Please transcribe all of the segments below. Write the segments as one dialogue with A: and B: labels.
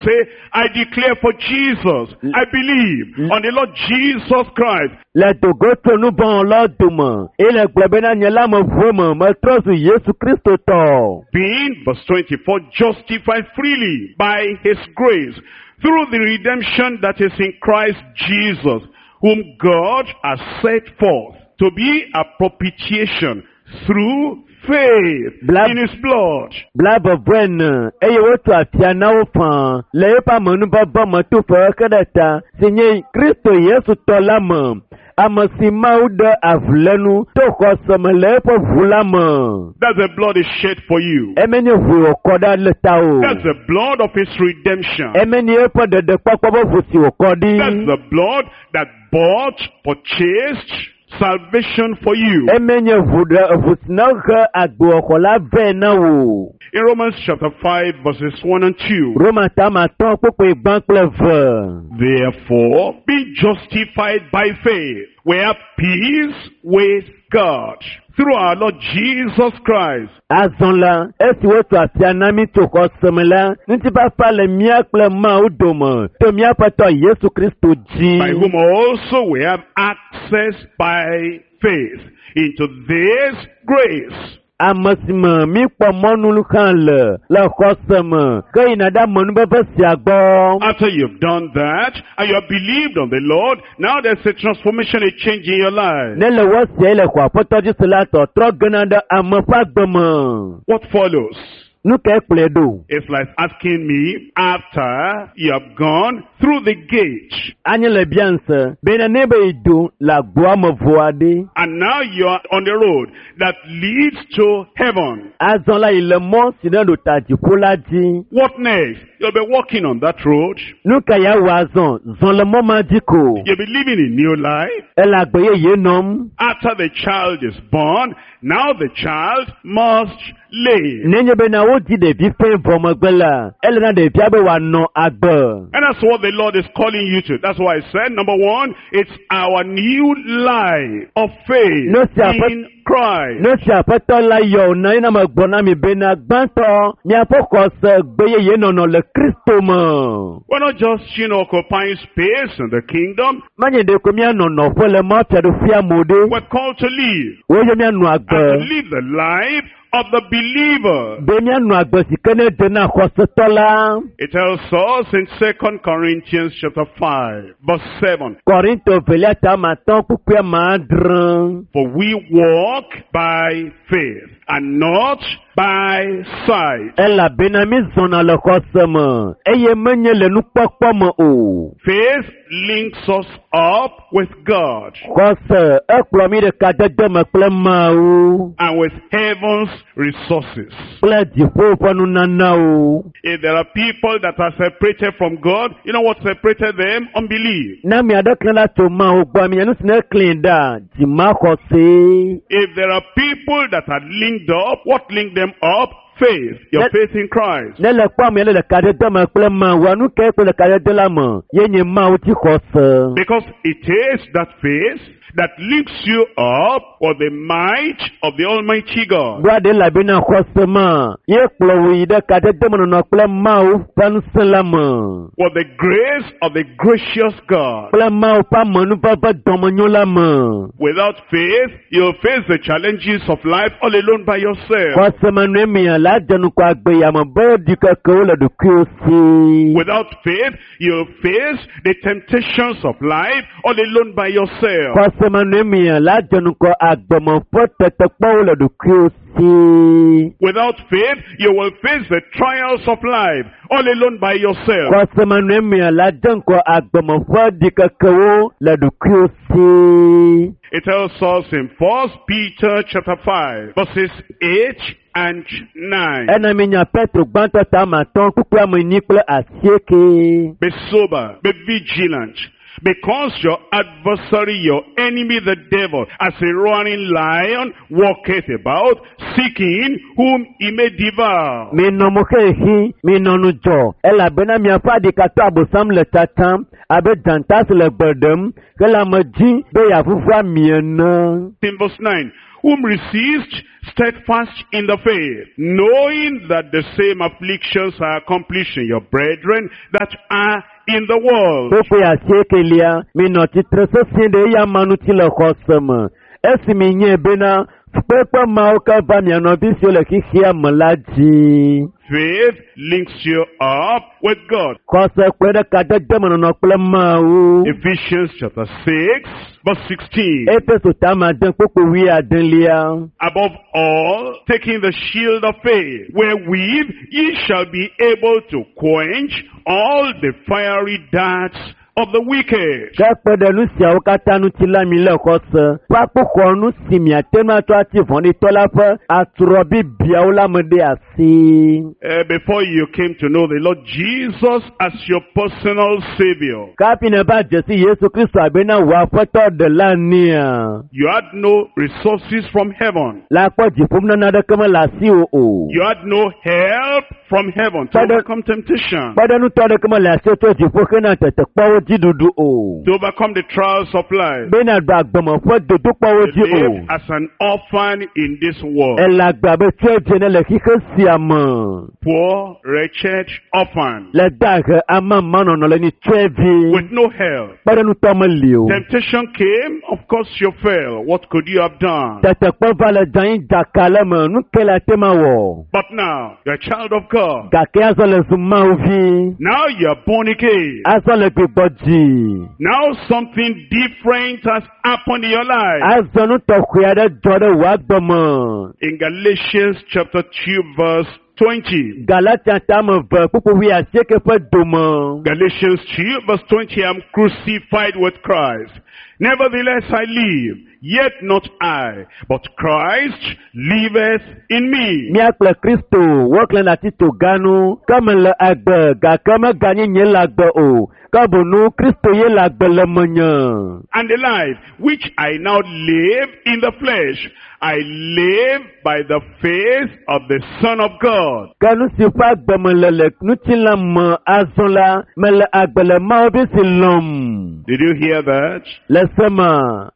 A: Say, I declare for Jesus, I believe on the Lord Jesus Christ.
B: Le dogo tso nuvɔ̃wɔlawo dome eye le gblɔ bena nye la meʋu eme metrɔ zu Yesu Kristo tɔ.
A: Being, verse 24, justified freely by his grace through the redemption that is in Christ Jesus, whom God has set forth to be a propitiation through faith in his blood.
B: 24 eye wotso afia na wo faa le eƒe amenuveve me to fexexe ɖe ta si nye Kristo Yesu tɔ la me, ame si Mawu ɖe avulénu to xɔse me le eƒe ʋu la me.
A: That's the blood is shed for you.
B: Eme nye ʋu wòkɔ ɖa le tawò.
A: That's the blood of his redemption.
B: Eme nye eƒe ɖeɖekpɔkpɔ ƒe ʋu si wòkɔ ɖi.
A: That's the blood that bought, purchased salvation for you.
B: Eme nye ʋu ɖe ʋu si ne he agbewɔxɔ la vɛ na wò.
A: In Romans chapter 5 verses 1 and 2.
B: Roma ta atɔ̃ kpukpui gbã kple eve.
A: Therefore, being justified by faith, we have peace with God through our Lord Jesus Christ.
B: Azɔ la, esi wotso afia na mí tso xɔse me la, ŋutifafa le mía kple Mawu dome to mía Aƒetɔ Yesu Kristo dzi.
A: By whom also we have access by faith into this grace.
B: Ame si me míkpɔ mɔnu hã le le xɔse me heyina ɖe amenuveve sia gbɔ.
A: After you've done that and you have believed on the Lord, now there's a transformation, a change in your life.
B: Ne le wɔ sia le xɔ Aƒetɔ dzi se la, tɔtrɔ gena ɖe ame ƒe agbe me.
A: What follows?
B: Nu kae kplɔe ɖo?
A: It's like asking me after you have gone through the gate.
B: Anye le biam se bena ne be yi do le agboa me vɔa ɖe.
A: And now you are on the road that leads to heaven.
B: Azɔ la yi le mɔ si ne ɖo ta dziƒo la dzi.
A: What next? You'll be walking on that road.
B: Nu ka ya wɔ azɔ? Zɔ le mɔ ma dzi ko.
A: You'll be living a new life.
B: Ele agbe yeye nɔm.
A: After the child is born, now the child must live.
B: Nenye bena wodzi ɖevi fɛ̃ vɔ megbe la, ele na ɖevia be wòanɔ agbe.
A: And that's what the Lord is calling you to. That's why I said, number one, it's our new life of faith
B: No, sir, but-
A: in Christ.
B: Nu si Aƒetɔ la yɔ wò na ye na megblɔ na mi bena gbãtɔ miaƒe xɔse gbe yeye nɔnɔ le Kristo me.
A: We're not just, occupying space in the kingdom.
B: Menye ɖeko míanɔ nɔƒe le Mawu fiaɖuƒea me o ɖe.
A: We're called to live.
B: Woyɔ míanɔ
A: And to
B: agbe.
A: live the life of the believer.
B: Be míanɔ agbe si ke ne dze na xɔsetɔ la.
A: It tells us in 2 Corinthians chapter 5, verse 7.
B: Korinto velia ta ame atɔ̃ kpukpui ame adre.
A: For we walk by faith and not by sight.
B: Elabena mí zɔna le xɔse me eye menye le nukpɔkpɔ me o.
A: Faith links us up with God
B: Xɔse ekplɔ mí ɖe kadede me kple Mawu
A: and with heaven's resources.
B: kple dziƒo ƒe nunanawo.
A: If there are people that are separated from God, you know what separated them? Unbelief.
B: Ne ame aɖe klẽ ɖa tso Mawu gbɔ, ame nu si ne klẽ ɖa, dzimaxɔsee.
A: If there are people that are linked up, what linked them up? Faith. Your faith in Christ.
B: Ne le kpɔ ame aɖe le kadede me kple Mawua, nu kae kple le kadede la me? Ye nye Mawu dzixɔse.
A: Because it is that faith that links you up with the might of the Almighty God.
B: Ɖoa ɖe elabena xɔse ma ye kplɔ wò yi ɖe kadedemenɔnɔ kple Mawu ƒe ŋusẽ la me.
A: With the grace of the gracious God.
B: Kple Mawu ƒe amenuveve dɔmenyo la me.
A: Without faith, you'll face the challenges of life all alone by yourself.
B: Xɔse me nɔe mia la dze ŋgɔ agbe ya me be ɖikekewo le ɖokuiwò si.
A: Without faith, you'll face the temptations of life all alone by yourself.
B: Xɔse me nɔe mia la dze ŋgɔ agbeme ƒe tetekpɔwo le ɖokuiwò si.
A: Without faith, you will face the trials of life all alone by yourself.
B: Xɔse me nɔe mia la dze ŋgɔ agbeme ƒe ɖikekewo le ɖokuiwò si.
A: It tells us in 1 Peter chapter 5, verses 8 and 9.
B: Ena mi nya Petro gbãtɔ ta ame atɔ̃ kpukpui ame enyi kple asieke.
A: Be sober, be vigilant. Because your adversary, your enemy, the devil, as a roaring lion, walketh about, seeking whom he may devour.
B: Minɔ mo xexi, minɔ ŋudzɔ elabena miaƒe aɖikatɔ Abosam le tsatsam abe dzata si le gbe ɖem hele ame dzi be yeavuvu ami ene.
A: In verse 9, whom resist steadfast in the faith, knowing that the same afflictions are accomplished in your brethren that are in the world.
B: Kpukpui asiekelia, minɔ tsitre sesĩe ɖe eya amea ŋuti le xɔse me. Esi minyae bena fukpekpe mawo ke va mia nɔvi siwo le xexea me la dzi.
A: Faith links you up with God.
B: Xɔse kpe ɖe kadede me nɔnɔ kple Mawu.
A: Ephesians chapter 6, verse 16.
B: Efeso ta ade kpukpui wuiadelia.
A: Above all, taking the shield of faith, wherewith ye shall be able to quench all the fiery darts of the wicked.
B: Ke kpe ɖe nu siawo katã ŋuti la mi le xɔse ƒe akpoxɔnu si miate ŋu atsɔ ati vɔ̃ɖitɔ la ƒe atrɔ bibiawo la me ɖe asi.
A: Before you came to know the Lord Jesus as your personal Savior,
B: Kafi neva dze si Yesu Kristo abena wò aƒetɔ ɖela nea.
A: you had no resources from heaven.
B: La kpɔ dziƒonunana aɖeke mele asiwò o.
A: You had no help from heaven to
B: Father-
A: overcome temptation,
B: Kpeɖeŋutɔ aɖeke mele asiwò tso dziƒo hena tetekpɔwo dzi ɖuɖu o.
A: to overcome the trials of life.
B: Bena ɖu agbeme ƒe dodokpɔwo
A: You
B: dzi o.
A: lived as an orphan in this world.
B: Ele agbe abe tsɔedze ne le xixe sia me.
A: Poor, wretched orphan
B: Le dahe amamanɔnɔ le ni tsɔevi.
A: with no help.
B: Kpeɖeŋutɔ meli o.
A: Temptation came, of course you fell. What could you have done?
B: Tetekpɔ va le dzanyi dzaka le me, nu ke le ate ma wɔ.
A: But now, you're a child of God.
B: Gake azɔ le zu Mawu vi.
A: Now you're born again.
B: Azɔ le gbigbɔ dzi.
A: Now something different has happened in your life.
B: Azɔ nu tɔxɛ aɖe dzɔ ɖe wò agbe me.
A: In Galatians chapter 2 verse 20.
B: Galatia tame ve kpukpu wuiasieke ƒe dome.
A: Galatians 2 verse 20, I am crucified with Christ. Nevertheless I live, yet not I, but Christ liveth in me.
B: Mía kple Kristo woklẽ ɖe atito ganu, ke mele agbe gake meganye nye le agbe o, ke boŋu Kristo ye le agbe le menye.
A: And the life which I now live in the flesh, I live by the faith of the Son of God,
B: Ke nu si ƒe agbe mele le ŋutilã me azɔ la, mele agbe le Mawu vi si lɔ̃m.
A: Did you hear that?
B: Le se me,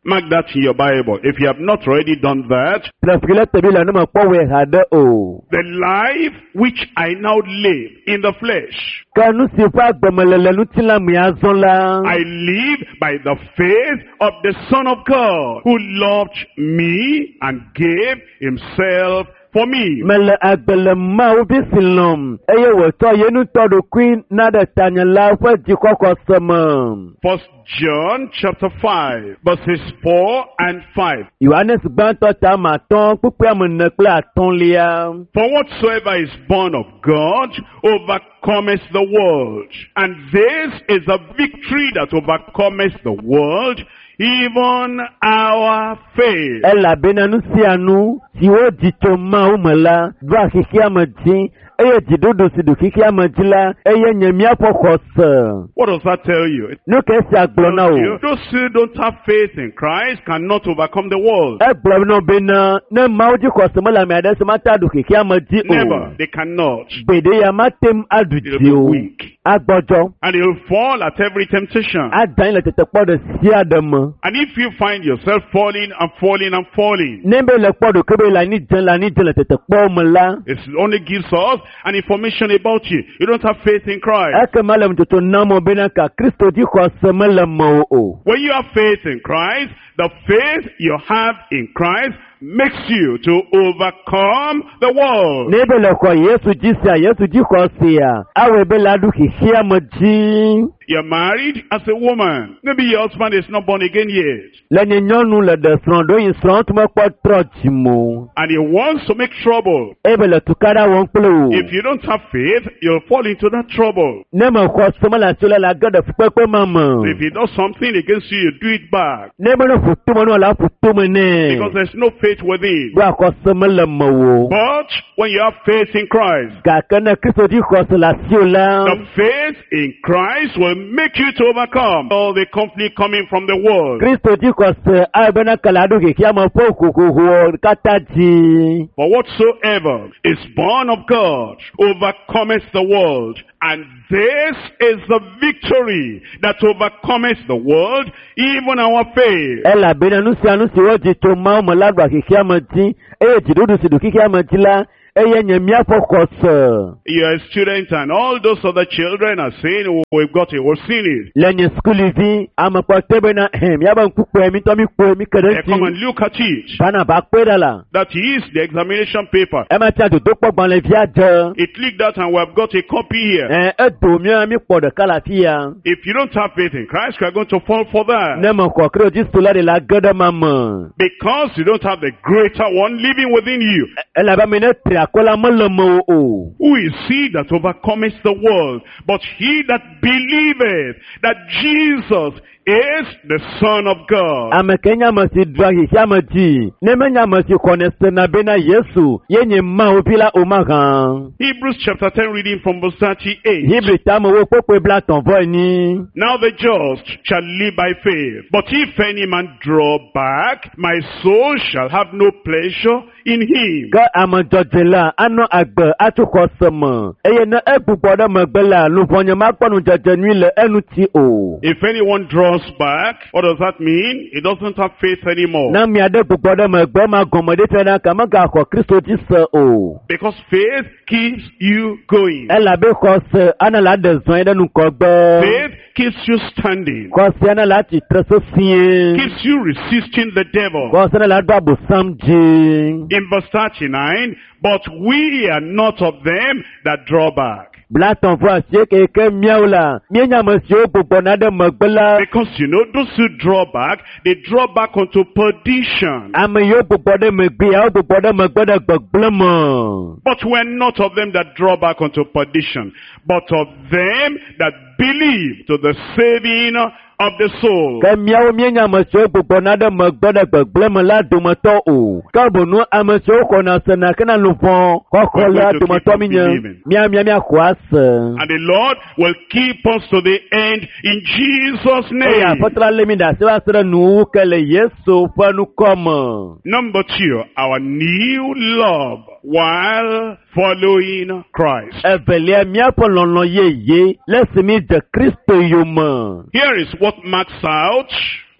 A: Mark that in your Bible. If you have not already done that,
B: ƒle le tebi le ne mekpɔ wɔe haɖe o.
A: the life which I now live in the flesh,
B: Ke nu si ƒe agbe mele le ŋutilã me azɔ la,
A: I live by the faith of the Son of God, who loved me and gave himself for me.
B: Mele agbe le Mawu vi si lɔ̃m eye wòtsɔ ye ŋutɔ ɖokui na ɖe tanye la ƒe dzixɔxɔse me.
A: First John chapter 5, verses 4 and 5.
B: Yohanes gbãtɔ ta ame atɔ̃ kpukpui ame ene kple atɔ̃lia.
A: For whatsoever is born of God overcometh the world. And this is the victory that overcometh the world, even our faith.
B: Elabena nu sia nu si wodzi tso Mawu me la ɖoa xexea me dzi eye dziɖuɖu si ɖu xexea me dzi la eye nye míaƒe xɔse.
A: What does that tell you? It
B: Nu ke esia gblɔ na
A: tells
B: wò.
A: you, those who don't have faith in Christ cannot overcome the world.
B: Egblɔ na wo bena ne Mawu dzi xɔse mele ame aɖe si mate aɖu xexea me dzi o.
A: Never. They cannot.
B: Gbeɖe ya mate ŋu aɖu
A: They'll
B: dzi
A: be
B: o.
A: weak.
B: Agbɔdzɔ.
A: And you'll fall at every temptation.
B: Ada anyi le tetekpɔ ɖe sia ɖe me.
A: And if you find yourself falling and falling and falling,
B: Ne be le kpɔ ɖokui be le anyi dze le anyi dze le tetekpɔwo me la,
A: it only gives us an information about you. You don't have faith in Christ.
B: ekema le ŋutsotso nam wo bena ka Kristo dzi xɔse mele mewò o.
A: When you have faith in Christ, the faith you have in Christ makes you to overcome the world.
B: Ne be le xɔ Yesu dzi sia, Yesu dzi xɔ sia, awɔe be la ɖu xexea me dzi.
A: You're married as a woman. Maybe your husband is not born again yet.
B: Le nye nyɔnu le ɖe srɔ̃ ɖo yi srɔ̃ tu mekpɔ trɔ dzime o.
A: And he wants to make trouble.
B: Ebe le tukaɖa wɔm kple wò.
A: If you don't have faith, you'll fall into that trouble.
B: Ne mexɔ se mele asi o la, la ge ɖe fukpekpe ma
A: So if
B: me.
A: he does something against you, you do it back.
B: Ne be ne ƒo tome nɔ la ƒo tome nɛ.
A: Because there's no faith faith within.
B: Ɖo axɔse mele mewò.
A: But when you have faith in Christ,
B: Gake ne Kristo dzi xɔse le asiwò la,
A: the faith in Christ will make you to overcome all the conflict coming from the world.
B: Kristo dzi xɔse ayi bena kele aɖo xexeame ƒe hohoho katã dzi.
A: For whatsoever is born of God overcometh the world. And this is the victory that overcometh the world, even our faith.
B: Elabena nu sia nu si wodzi tso Mawu me la ɖua xexeame dzi eye dziɖuɖu si ɖu xexeame dzi la eye nye míaƒe xɔse.
A: You're a student and all those other children are saying, "Oh, we've got it, we've seen it."
B: Le nye sukulivi ame kpɔtɔe bena hɛn míabe ŋku kpɔe mi ŋutɔ mi kpɔe mi ke ɖe
A: They come
B: ŋuti.
A: and look at it.
B: Bana ba kpɔe ɖa la.
A: That is the examination paper.
B: Ema tia dodokpɔ gbalẽvia dze.
A: It leaked out and we've got a copy here.
B: Ɛ edo mía mi kpɔ ɖeka le afi ya.
A: If you don't have faith in Christ, you are going to fall for that.
B: Ne mexɔ Kristo dzi se la ɖe la ge ɖe ma me.
A: Because you don't have the greater one living within you.
B: Elabe ame ne tri akɔ la mele mewò o.
A: Who is he that overcometh the world? But he that believeth that Jesus is the Son of God.
B: Ame ke nye ame si ɖua xexeame dzi, ne menye ame si xɔnɛ sena bena Yesu ye nye Mawu vi la o mahã.
A: Hebrews chapter 10, reading from verse 38.
B: Hebri tamewo kpokpoe 32.
A: Now the just shall live by faith. But if any man draw back, my soul shall have no pleasure in him.
B: Ke ame dzɔdzɔe la anɔ agbe atso xɔse me eye ne egbugbɔ ɖe megbe la luʋɔnye makpɔ nudzedze nyui le eŋuti o.
A: If anyone draws back, what does that mean? He doesn't have faith anymore.
B: Ne ame aɖe gbugbɔ ɖe megbe ma gɔme ɖe fia na ke megaxɔ Kristo dzi se o.
A: Because faith keeps you going.
B: Elabe xɔse ana la ɖe zɔe ɖe ŋgɔgbe.
A: Faith keeps you standing.
B: Xɔse ana la tsitre sesĩe.
A: Keeps you resisting the devil.
B: Xɔse ana la ɖo abosam dzi.
A: In verse 39, but we are not of them that draw back.
B: 38 ke míawo la míenye ame siwo gbugbɔna ɖe megbe la.
A: Because you know, those who draw back, they draw back unto perdition.
B: Ame yiwo gbugbɔ ɖe megbea wo gbugbɔ ɖe megbe ɖe gbegblẽ me.
A: But we are not of them that draw back unto perdition, but of them that believe to the saving of the soul.
B: Ke míawo míenye ame siwo gbugbɔna ɖe megbe ɖe gbegblẽ me la dometɔ o. Ke bonu ame siwo xɔna sena kena luʋɔ xɔxɔ la dometɔ mi nye. Mía mía míaxɔ ase.
A: And the Lord will keep us to the end in Jesus'
B: Eye
A: name.
B: Aƒetɔ la lé mi ɖe asi va se ɖe nuwuwu ke le Yesu ƒe ŋkɔ me.
A: Number two, our new love while following Christ.
B: Evelia míaƒe lɔlɔ̃ yeye le esi mi dze Kristo yome.
A: Here is what marks out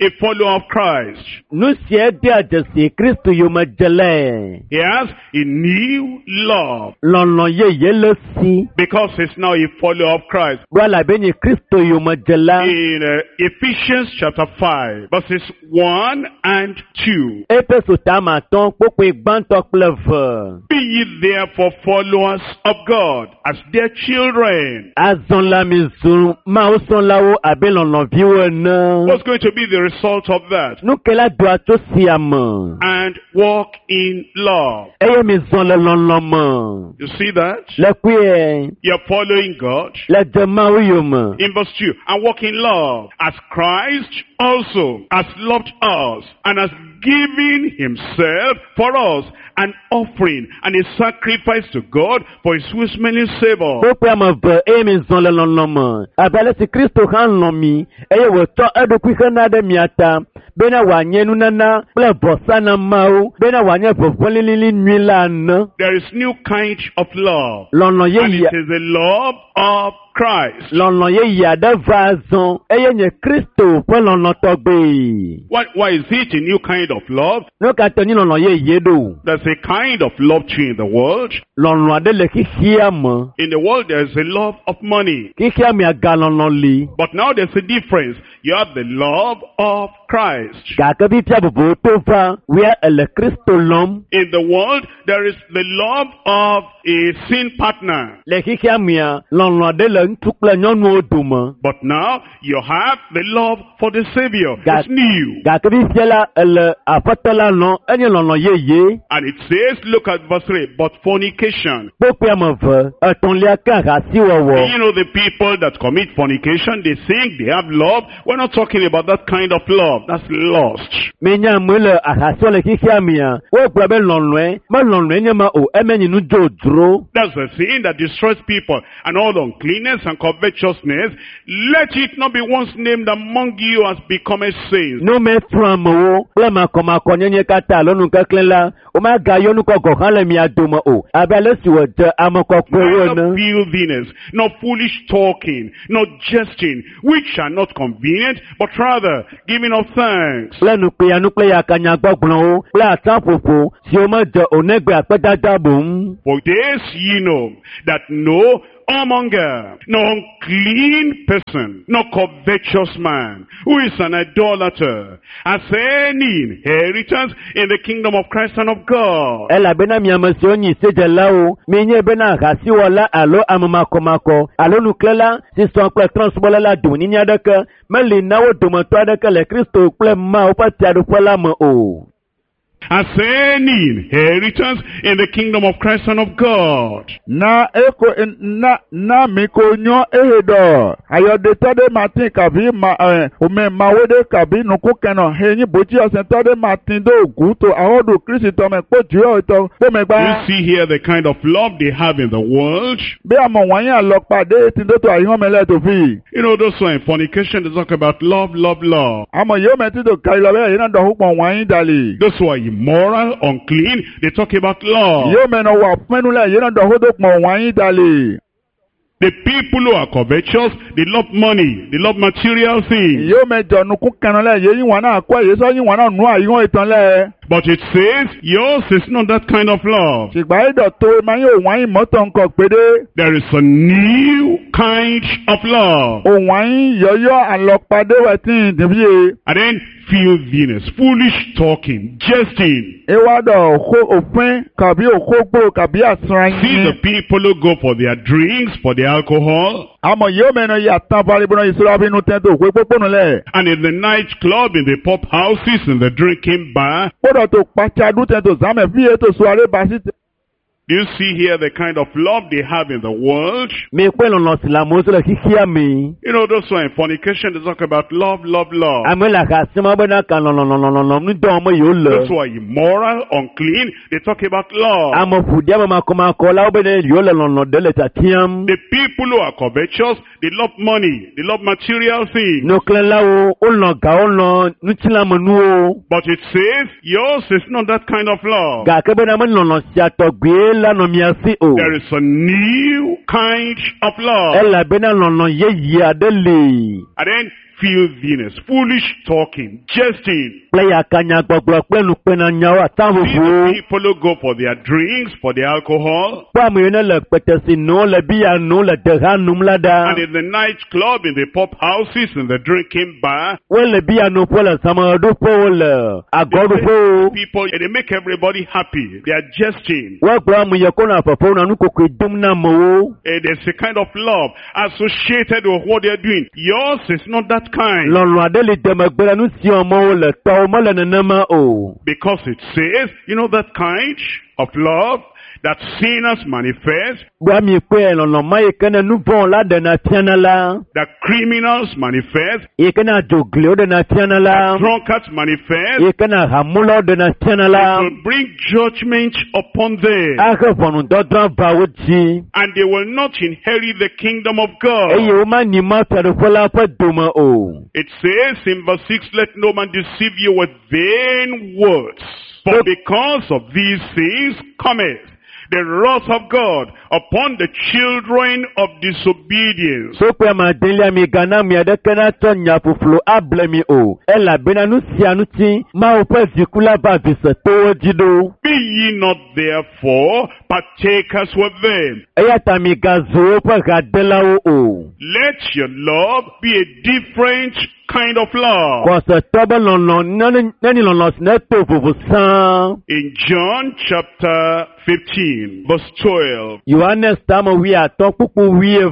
A: a follower of Christ.
B: Nu sia dea dzesi Kristo yomedzelae.
A: He has a new love
B: Lɔlɔ̃ yeye le si.
A: because he's now a follower of Christ.
B: Ɖo elabe nye Kristo yomedzela.
A: In Ephesians chapter 5, verses 1 and 2.
B: Efeso tame 5 kpokpoe gbãtɔ kple eve.
A: Be ye therefore followers of God as dear children.
B: Azɔ la mi zu Mawu srɔ̃lawo abe lɔlɔ̃viwo ene.
A: What's going to be the result of that?
B: Nu ke la doa tso sia me.
A: And walk in love.
B: Eye mi zɔ le lɔlɔ̃ me.
A: You see that?
B: Le kpuie,
A: You're following God.
B: le dze Mawu yome.
A: In verse 2, and walk in love as Christ also has loved us and has given himself for us, an offering and a sacrifice to God for his sweet smelling savor.
B: Kpokpoe ame eve eye mi zɔ le lɔlɔ̃ me. Abe ale si Kristo hã lɔ̃ mi eye wòtsɔ eɖokui hena ɖe mia ta bena wòanye nunana kple vɔsa na Mawu bena wòanye ʋeʋẽ lilili nyui la ene.
A: There is new kind of love.
B: Lɔlɔ̃
A: And
B: yeye
A: it is the love of Christ.
B: lɔlɔ̃ yeye aɖe va azɔ eye nye Kristo ƒe lɔlɔ̃ tɔgbe.
A: Why is it a new kind of love?
B: Nu ka ta nye lɔlɔ̃ yeye ɖo?
A: There's a kind of love too in the world.
B: Lɔlɔ̃ aɖe le xexea me.
A: In the world, there's a love of money.
B: Xexea mea galɔlɔ̃ li.
A: But now there's a difference. You have the love of Christ.
B: Gake fifia vovowo to va wia ele Kristo lɔm.
A: In the world, there is the love of a sin partner.
B: Le xexea mea, lɔlɔ̃ aɖe le le ŋutsu kple nyɔnuwo dome.
A: But now you have the love for the Savior.
B: That-
A: It's new.
B: Gake fifia la ele aƒetɔ la lɔ̃ enye lɔlɔ̃ yeye.
A: And it says, look at verse 3, but fornication.
B: Kpokploe ame eve etɔ̃lia ke ahasiwɔwɔ.
A: You know, the people that commit fornication, they think they have love. We're not talking about that kind of love. That's lust.
B: Minya ame le ahasiwɔ le xexea mea, wogblɔ be lɔlɔ̃e, me lɔlɔ̃e nye ma o, eme nye nu dzodzro.
A: That's the thing that destroys people and all uncleanness and covetousness. Let it not be once named among you as becometh saints.
B: Nu me trɔ amewo kple makɔmakɔnyenye katã alo nukeklẽ la, womagayɔ nukɔ gɔ̃ hã le mia dome o, abe ale si wòdze ame kɔkɔewo
A: Neither
B: ene.
A: filthiness, nor foolish talking, nor jesting, which are not convenient, but rather giving of thanks.
B: Kple nukpeyanu kple yakanyagbɔgblɔwo kple atãƒoƒo siwo medze o negbe akpedada boŋ.
A: For this ye know, that no whoremonger, no unclean person, no covetous man, who is an idolater, has any inheritance in the kingdom of Christ and of God.
B: Elabena mi ame siwo nyi sedzelawo, mienye bena ahasiwɔla alo ame makɔmakɔ alo nuklela si sɔ kple trɔ̃subɔla la domenyinyi aɖeke meli na wo dometɔ aɖeke le Kristo kple Mawu ƒe fiaɖuƒe la me o.
A: Has any inheritance in the kingdom of Christ and of God.
C: Na eko na na mi ko nyɔ ehe dɔ ayɔdetɔ ɖe ma ti kabi ma ɛ ome mawo ɖe kabi nuku kɛnɔ he nyi botsi ɔsɛntɔ ɖe ma ti do gu to awɔɖu kristu tɔ me kpo dziwɔ tɔ kpo megba.
A: You see here the kind of love they have in the world.
C: Be amɔ wɔnyi alɔkpa ɖe ti do to ayihɔn lɛ to fi.
A: You know, those who are in fornication, they talk about love, love, love.
C: Amɔ yewo mɛ ti do kayi lɔ bɛ yina dɔ hukpɔn wɔnyi dali.
A: Those who are immoral, unclean, they talk about love.
C: Yewo mɛ nɔ wɔ afɛnu lɛ yina dɔ ho do kpɔn wɔnyi dali.
A: The people who are covetous, they love money, they love material things.
C: Yewo mɛ jɔ nuku kɛnɔ lɛ yeyi wɔn na kɔ yesɔ yi wɔn na nu ayihɔn etɔn lɛ.
A: But it says, yours is not that kind of love.
C: Ṣùgbọ́n ẹ̀dọ̀ tó ma yóò wáyé mọ́tò nǹkan pédé.
A: There is a new kind of love.
C: Òun wáyé yọ̀yọ́ àlọ́padé wẹ̀ tí ì dìbíye.
A: And then filthiness, foolish talking, jesting.
C: Ewádọ̀ òkó òfin kàbí òkógbò kàbí àsán
A: See the
C: yín.
A: people who go for their drinks, for their alcohol,
C: Àmọ̀ yóò mẹ́nu yà tán balibọ́nà ìṣúra bínú tẹ́ntò òkú pópónù lẹ̀.
A: and in the nightclub, in the pop houses, in the drinking bar.
C: Kódà tó pàṣadú tẹ́ntò sámẹ̀ fi ètò sọ aré basí.
A: Do you see here the kind of love they have in the world?
B: Mi kpe lɔlɔ̃ si le amewo si le xexea me.
A: You know, those who are in fornication, they talk about love, love, love.
B: Ame le ahasi ma bena ka lɔlɔlɔlɔlɔ nu dɔm me yewo le.
A: Those who are immoral, unclean, they talk about love.
B: Ame ƒoɖi ame makɔmakɔ la wo bena yewo le lɔlɔ̃ ɖe le tiatiam.
A: The people who are covetous, they love money, they love material things.
B: Nuklẽlawo wolɔ̃ ga wolɔ̃ ŋutilãmenuwo.
A: But it says, yours is not that kind of love.
B: Gake bena me lɔlɔ̃ sia tɔgbe la nɔ mia si o.
A: There is a new kind of love.
B: Elabena lɔlɔ̃ yeye aɖe li.
A: And then filthiness, foolish talking, jesting.
B: Kple yakanyagbɔgblɔ kple nukpenanyawo
A: See
B: ataʋuʋuwo.
A: the people who go for their drinks, for their alcohol,
B: Kpɔ ame yiwo ne le kpetesi nom le biya nom le deha nom la ɖa.
A: and in the nightclub, in the pop houses, in the drinking bar.
B: Wole biya nom ƒe le zãmeɖoƒewo le agɔɖoƒewo.
A: People, they make everybody happy. They are jesting.
B: Woagblɔ ame yi ko nɔ fefe nɔ nukokoe dom na amewo.
A: There's a kind of love associated with what they're doing. Yours is not that kind.
B: Lɔlɔ̃ aɖe li demegbe le nu si wɔm wole tɔwo mele nenema o.
A: Because it says, you know that kind of love that sinners manifest,
B: Gbɔ mi kpɔe lɔlɔ̃ ma yi ke ne nu vɔ̃ la ɖena fiana la,
A: that criminals manifest,
B: yi ke ne adzogliwo ɖena fiana la,
A: drunkards manifest,
B: yi ke ne ahamulawo ɖena fiana la,
A: it will bring judgment upon them.
B: ahe ʋɔnudɔdrɔ̃ va wo dzi
A: And they will not inherit the kingdom of God.
B: eye womanyi ma fiaɖuƒe la ƒe dome o.
A: It says in verse 6, let no man deceive you with vain words. For because of these things cometh the wrath of God upon the children of disobedience.
B: Sokpe ame adelia mi gana mi aɖeke natsɔ nya ƒuƒlu able mi o, elabena nu sia ŋuti Mawu ƒe dziku la va visetowo dzi ɖo.
A: Be ye not therefore partakers with them.
B: Eya ta migazu woƒe hadelawo o.
A: Let your love be a different kind of love.
B: Xɔsetɔ be lɔlɔ nenye lɔlɔ si ne to vovo sãa.
A: In John chapter 15, verse 12,
B: Yohanes tame 50 kpukpu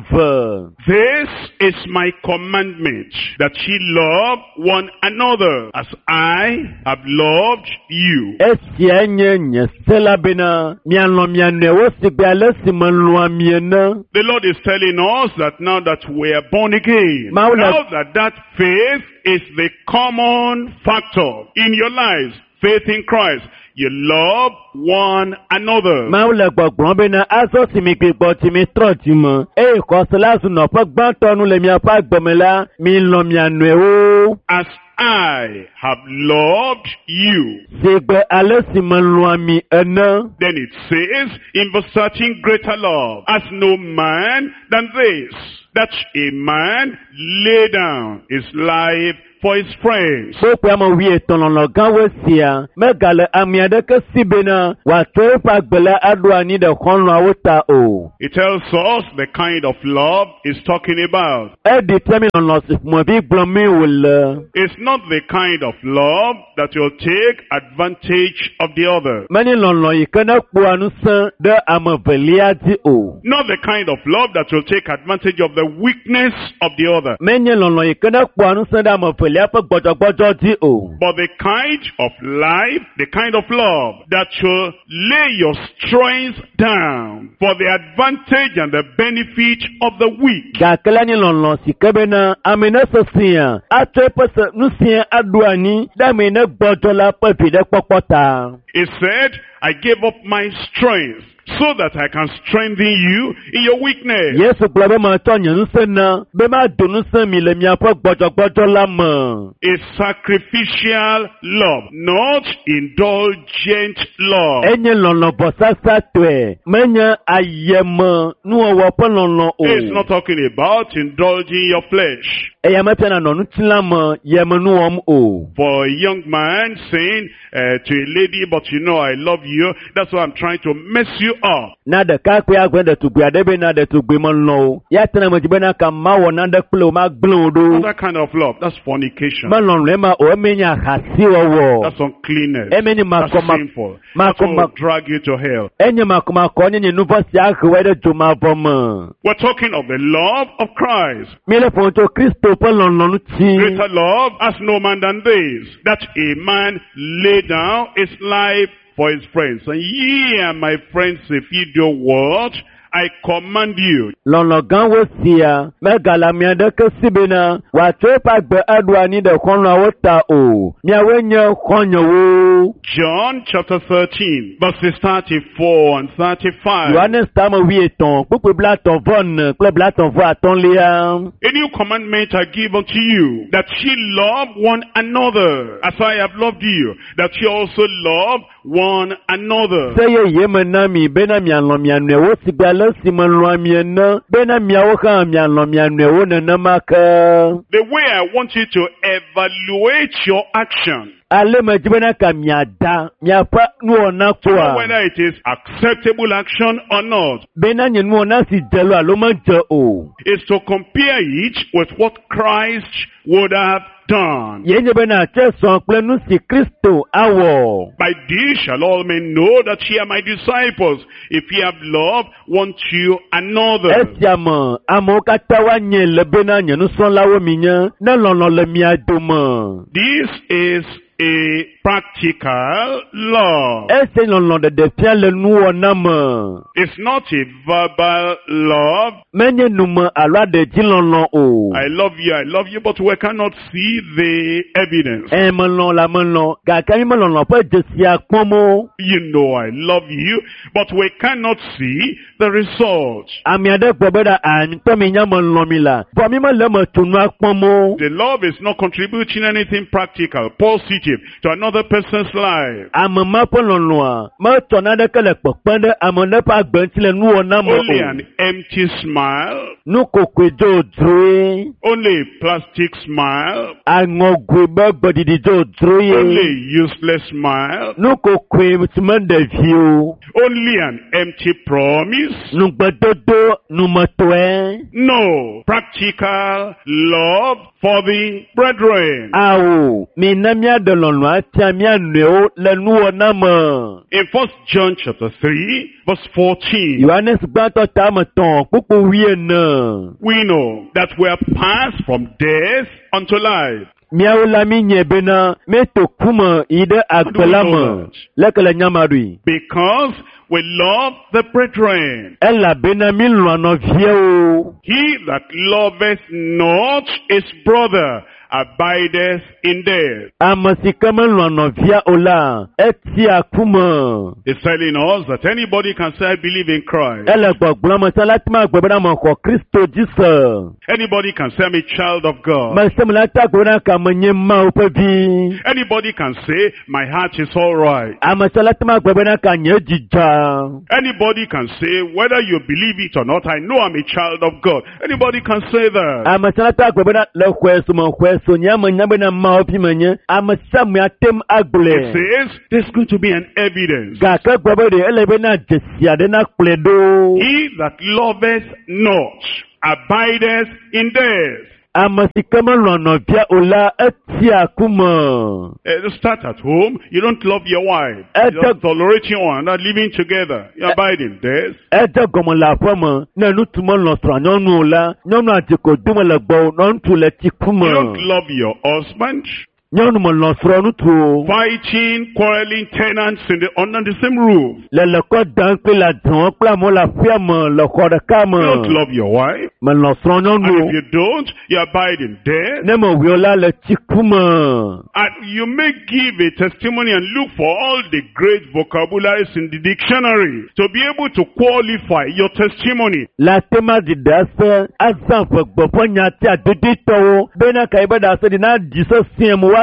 B: 12.
A: This is my commandment, that ye love one another as I have loved you.
B: Esia nye nye se la bena mialɔ̃ mia nɔewo si gbe ale si melɔ̃a mi ene.
A: The Lord is telling us that now that we are born again, now that faith is the common factor in your lives, faith in Christ, you love one another.
B: Mawu le gbɔgblɔm bena azɔ si mi gbigbɔ tsi mi trɔ dzi me eye xɔse la zu nɔƒe gbãtɔ nu le miaƒe agbe me la, milɔ̃ mia nɔewo.
A: As I have loved you.
B: Si gbe ale si melɔ̃a mi ene.
A: Then it says in verse 13, greater love has no man than this, that a man lay down his life for his friends.
B: Kpokpoe ame 50 lɔlɔ gãwoe sia megale ame aɖeke si bena wòatsɔ eƒe agbe la aɖo anyi ɖe xɔlɔ̃awo ta o.
A: It tells us the kind of love he's talking about.
B: Eɖi fia mi lɔlɔ si ƒomevi gblɔm mi wòle.
A: It's not the kind of love that will take advantage of the other.
B: Menye lɔlɔ yi ke ne kpɔa ŋusẽ ɖe ame velia dzi o.
A: Not the kind of love that will take advantage of the weakness of the other.
B: Menye lɔlɔ yi ke ne kpɔa ŋusẽ ɖe ame velia ƒe gbɔdzɔgbɔdzɔ dzi o.
A: But the kind of life, the kind of love that will lay your strength down for the advantage and the benefit of the weak.
B: Gake la nye lɔlɔ si ke bena ame ne sesẽa atsɔ eƒe ŋusẽ aɖo anyi ɖe ame ne gbɔdzɔ la ƒe viɖekpɔkpɔ ta.
A: He said, I gave up my strength so that I can strengthen you in your weakness.
B: Yesu gblɔ be metsɔ nye ŋusẽ na be mado ŋusẽ mi le miaƒe gbɔdzɔgbɔdzɔ la me.
A: A sacrificial love, not indulgent love.
B: Enye lɔlɔ vɔsasatɔe, menye ayeme nuwɔwɔ ƒe lɔlɔ o.
A: It's not talking about indulging your flesh.
B: Eya mefia nanɔ ŋutilã me yeme nu wɔm o.
A: For a young man saying to a lady, but you know I love you, that's why I'm trying to mess you up.
B: Na ɖekakpui agblɔ ɖetugbui aɖe bena ɖetugbui melɔ̃ o. Ya tena me dzi bena ka mawɔ nane kple o, magblẽ o ɖo.
A: Not that kind of love, that's fornication.
B: Melɔlɔe ma o, eme nye ahasiwɔwɔ.
A: That's uncleanness.
B: Eme nye
A: That's sinful. That will drag you to hell.
B: Enye makɔmakɔ nye nye nu vɔ̃ si ahe wɔ ɖe dzomavɔ me.
A: We're talking of the love of Christ.
B: Míele ƒom tso Kristo ƒe lɔlɔ ŋuti.
A: Greater love has no man than this, that a man lay down his life for his friends. And ye are my friends if ye do what I command you.
B: Lɔlɔ gãwo sia megale ame aɖeke si bena wòatsɔ eƒe agbe aɖo anyi ɖe xɔlɔ̃awo ta o. Miawoe nye xɔ̃nyewo.
A: John chapter 13, verses 34 and 35.
B: Yohanes tame 50, kpukpui 34 kple 35.
A: A new commandment I give unto you, that ye love one another, as I have loved you, that ye also love one another.
B: Se yeye me na mi bena mialɔ̃ mia nɔewo si gbe ale si melɔ̃a mi ene, bena miawo hã mialɔ̃ mia nɔewo nenema ke.
A: The way I want you to evaluate your action,
B: Ale me dzi bena ka miada miaƒe nuwɔna
A: to know
B: kpɔa,
A: whether it is acceptable action or not,
B: bena nye nuwɔna si dze lo alo medze o.
A: is to compare it with what Christ would have done.
B: Ye nye bena tse sɔ kple nu si Kristo awɔ.
A: By this shall all men know that ye are my disciples, if ye have love one to another.
B: Esia me amewo katã woanye le bena nye nusrɔ̃lawo mi nye, ne lɔlɔ le mia dome.
A: This is a practical love.
B: Ese lɔlɔ ɖeɖe fia le nuwɔna me.
A: It's not a verbal love.
B: Menye nume alo aɖedzi lɔlɔ o.
A: I love you, but we cannot see the evidence.
B: Melɔ̃ la melɔ̃, gake mi melɔlɔ ƒe dzesia kpɔm o.
A: You know I love you, but we cannot see the result.
B: Ame aɖe gblɔ be ɖa, ŋutɔ mi nya melɔ̃ mi la, vɔ mi mele eme tso nua kpɔm o.
A: The love is not contributing anything practical, positive. relationship to another person's life.
B: Ame ma ƒe lɔlɔ̃a metsɔ naneke le kpekpem ɖe ame ɖe ƒe agbe ŋuti le nuwɔna me
A: Only
B: o.
A: an empty smile,
B: Nukokoe dzodzroe,
A: only a plastic smile,
B: aŋɔgoe be gbeɖiɖi dzodzroe,
A: only a useless smile,
B: nukokoe si meɖe vi o,
A: only an empty promise.
B: nugbedodo numetɔe.
A: No, practical love for the brethren.
B: Awo, mina míaɖe lɔlɔ̃ atia mía nɔewo le nuwɔna me.
A: In 1 John chapter 3, verse 14,
B: Yohanes gbãtɔ tame tɔ̃ kpukpu wuiene.
A: we know that we are passed from death unto life.
B: Míawo la mi nye bena míeto ku me yi ɖe agbe la me. Leke le nyama ɖui.
A: Because we love the brethren.
B: Elabena mi lɔ̃a nɔviawo.
A: He that loveth not his brother abideth in death.
B: Ame si ke melɔ̃a nɔvia o la, etia ku me.
A: It's telling us that anybody can say, I believe in Christ.
B: Ele gbɔgblɔm me sia la te ma gbe bena mexɔ Kristo dzi se.
A: Anybody can say, I'm a child of God.
B: Me sia me la te agblɔ bena ka menye Mawu ƒe vi.
A: Anybody can say, my heart is all right.
B: Ame sia la te ma gblɔ bena ka nye dzi dza.
A: Anybody can say, whether you believe it or not, I know I'm a child of God. Anybody can say that.
B: Ame sia la te agblɔ bena le xɔe so me xɔe so nye ame nya bena Mawu vi menye. Ame sia ame ate ŋu
A: It
B: agblɔe.
A: says, there's going to be an evidence.
B: Gake gblɔ be ɖe ele bena dzesi aɖe nakplɔe ɖo.
A: He that loveth not abideth in death.
B: Ame si ke melɔ̃a nɔvia o la, etia ku me.
A: Start at home. You don't love your wife. You're just tolerating one, not living together. You abide in death.
B: Edze gɔme le aƒe me ne ŋutsu melɔ̃ srɔ̃a nyɔnu o la, nyɔnua dzi ko dome le gbɔwò nɔ ŋutsu le tsi ku me.
A: You don't love your husband.
B: Nyɔnu melɔ̃ srɔ̃ ŋutsu o.
A: Fighting, quarreling tenants in the, under the same roof.
B: Le lekɔ dam kple le adrɔ̃ kple amewo le aƒea me le xɔ ɖeka
A: You don't
B: me.
A: love your wife.
B: Melɔ̃ srɔ̃
A: And
B: nyɔnu
A: if
B: o.
A: you don't, you abide in death.
B: Ne mewɔe o la, le tsi ku me.
A: And you may give a testimony and look for all the great vocabularies in the dictionary to be able to qualify your testimony.
B: Le ate ma ɖi ɖase azã ƒe gbe ƒe nyati adoditɔwo bena ka yi be ɖase ɖi na ɖi sesĩe me woase.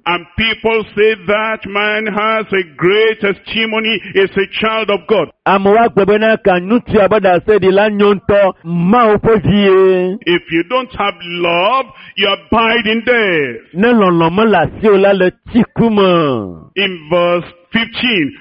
A: And people say that man has a great testimony, is a child of God.
B: Amewo agblɔ bena ka ŋutsua be ɖase ɖi la nyo ŋutɔ Mawu ƒe vie.
A: If you don't have love, you abide in death.
B: Ne lɔlɔ̃ mele asiwò la le tsi ku me.
A: In verse 15,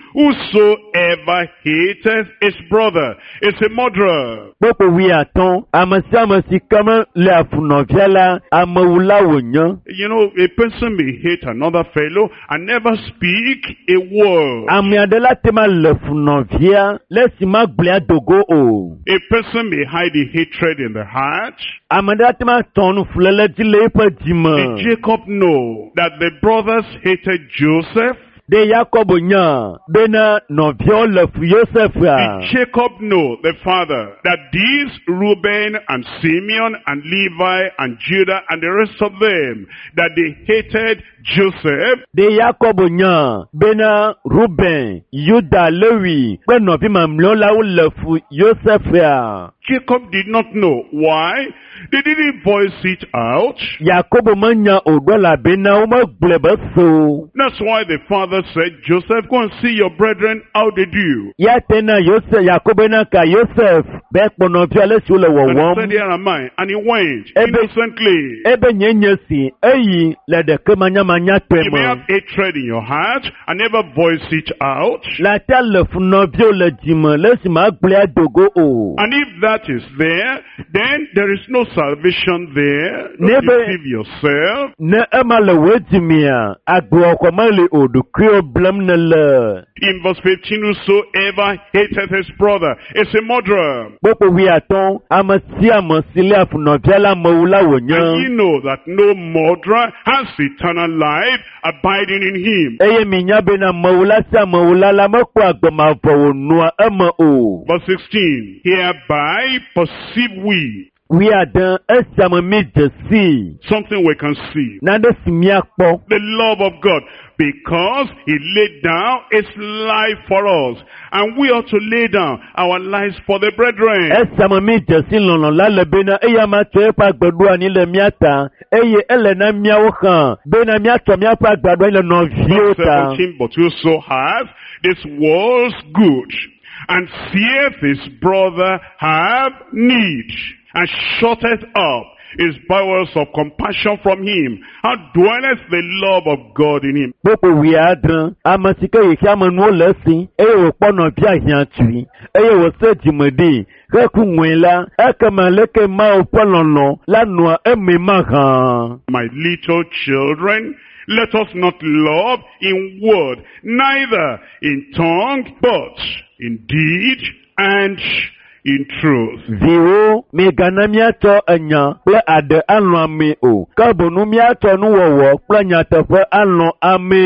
A: whosoever hateth his brother is a murderer.
B: Kpokpo wuiatɔ̃, ame sia ame si ke mele afu nɔvia la, amewula wònye.
A: You know, a person may hate another fellow and never speak a word.
B: Ame aɖe la te ma le fu nɔvia le esi magblɔe adogo o.
A: A person may hide the hatred in the heart.
B: Ame aɖe ate ma tɔ nu fuléle dzi le eƒe dzi me.
A: Did Jacob know that the brothers hated Joseph?
B: Ɖe Yakobo nya bena nɔviawo le fu Yosefua?
A: Did Jacob know, the father, that these Reuben and Simeon and Levi and Judah and the rest of them, that they hated Joseph?
B: Ɖe Yakobo nya bena Ruben, Yuda, Lewi kple nɔvi mamlɛawo la wole fu Yosefua?
A: Jacob did not know. Why? They didn't voice it out.
B: Yakobo menya o ɖo elabena womegblɔe be se o.
A: That's why the father said, Joseph, go and see your brethren how they do.
B: Ya te na Yosef, Yakobo na ka Yosef be kpɔ nɔviwo ale si wole
A: And he
B: wɔwɔm.
A: said, Here am I. And he went
B: Ebe-
A: innocently.
B: Ebe nye nye si eyi le ɖeke manyamanyatɔe
A: You may
B: me.
A: have hatred in your heart and never voice it out.
B: Le atea le fu nɔviwo le dzime le esi magblɔe adogo o.
A: And if that is there, then there is no salvation there. Don't
B: Never-
A: deceive yourself.
B: Ne ema le wò dzimea, agbewɔxɔ meli o ɖokuiwò blem nèle.
A: In verse 15, whosoever hateth his brother is a murderer.
B: Kpokpo wuiatɔ̃, ame sia ame si léa fu nɔvia la amewula
A: And ye
B: wònye.
A: know that no murderer has eternal life abiding in him.
B: Eye minya bena amewula sia amewula la mekpɔa agbe mavɔ wònɔa eme o.
A: Verse 16, hereby perceive we
B: Wuiade esia me mi dze sii.
A: Something we can see.
B: Nane si míakpɔ.
A: The love of God. Because he laid down his life for us. And we ought to lay down our lives for the brethren.
B: Esia me mi dze si lɔlɔ̃ la le bena eya ma tsɔ eƒe agbe ɖo anyi le mía ta eye ele na míawo hã bena míatsɔ míaƒe agbe aɖo anyi le nɔviwo
A: Verse
B: ta.
A: 17, but whoso hath this world's good, and seeth his brother have need, and shutteth up his bowels of compassion from him, how dwelleth the love of God in him?
B: Kpokpo wuiadre, ame si ke xexea me nuwo le esi eye wòkpɔ nɔvia hiãtui eye wòse dzime ɖi heku ŋui la, ekema leke Mawu ƒe lɔlɔ̃ la nɔa eme mahã.
A: My little children, let us not love in word, neither in tongue, but in deed and in truth.
B: Viwo, migana míatsɔ enya kple aɖe alɔ̃ amee o, ke boŋ míatsɔ nuwɔwɔ kple nyateƒe alɔ̃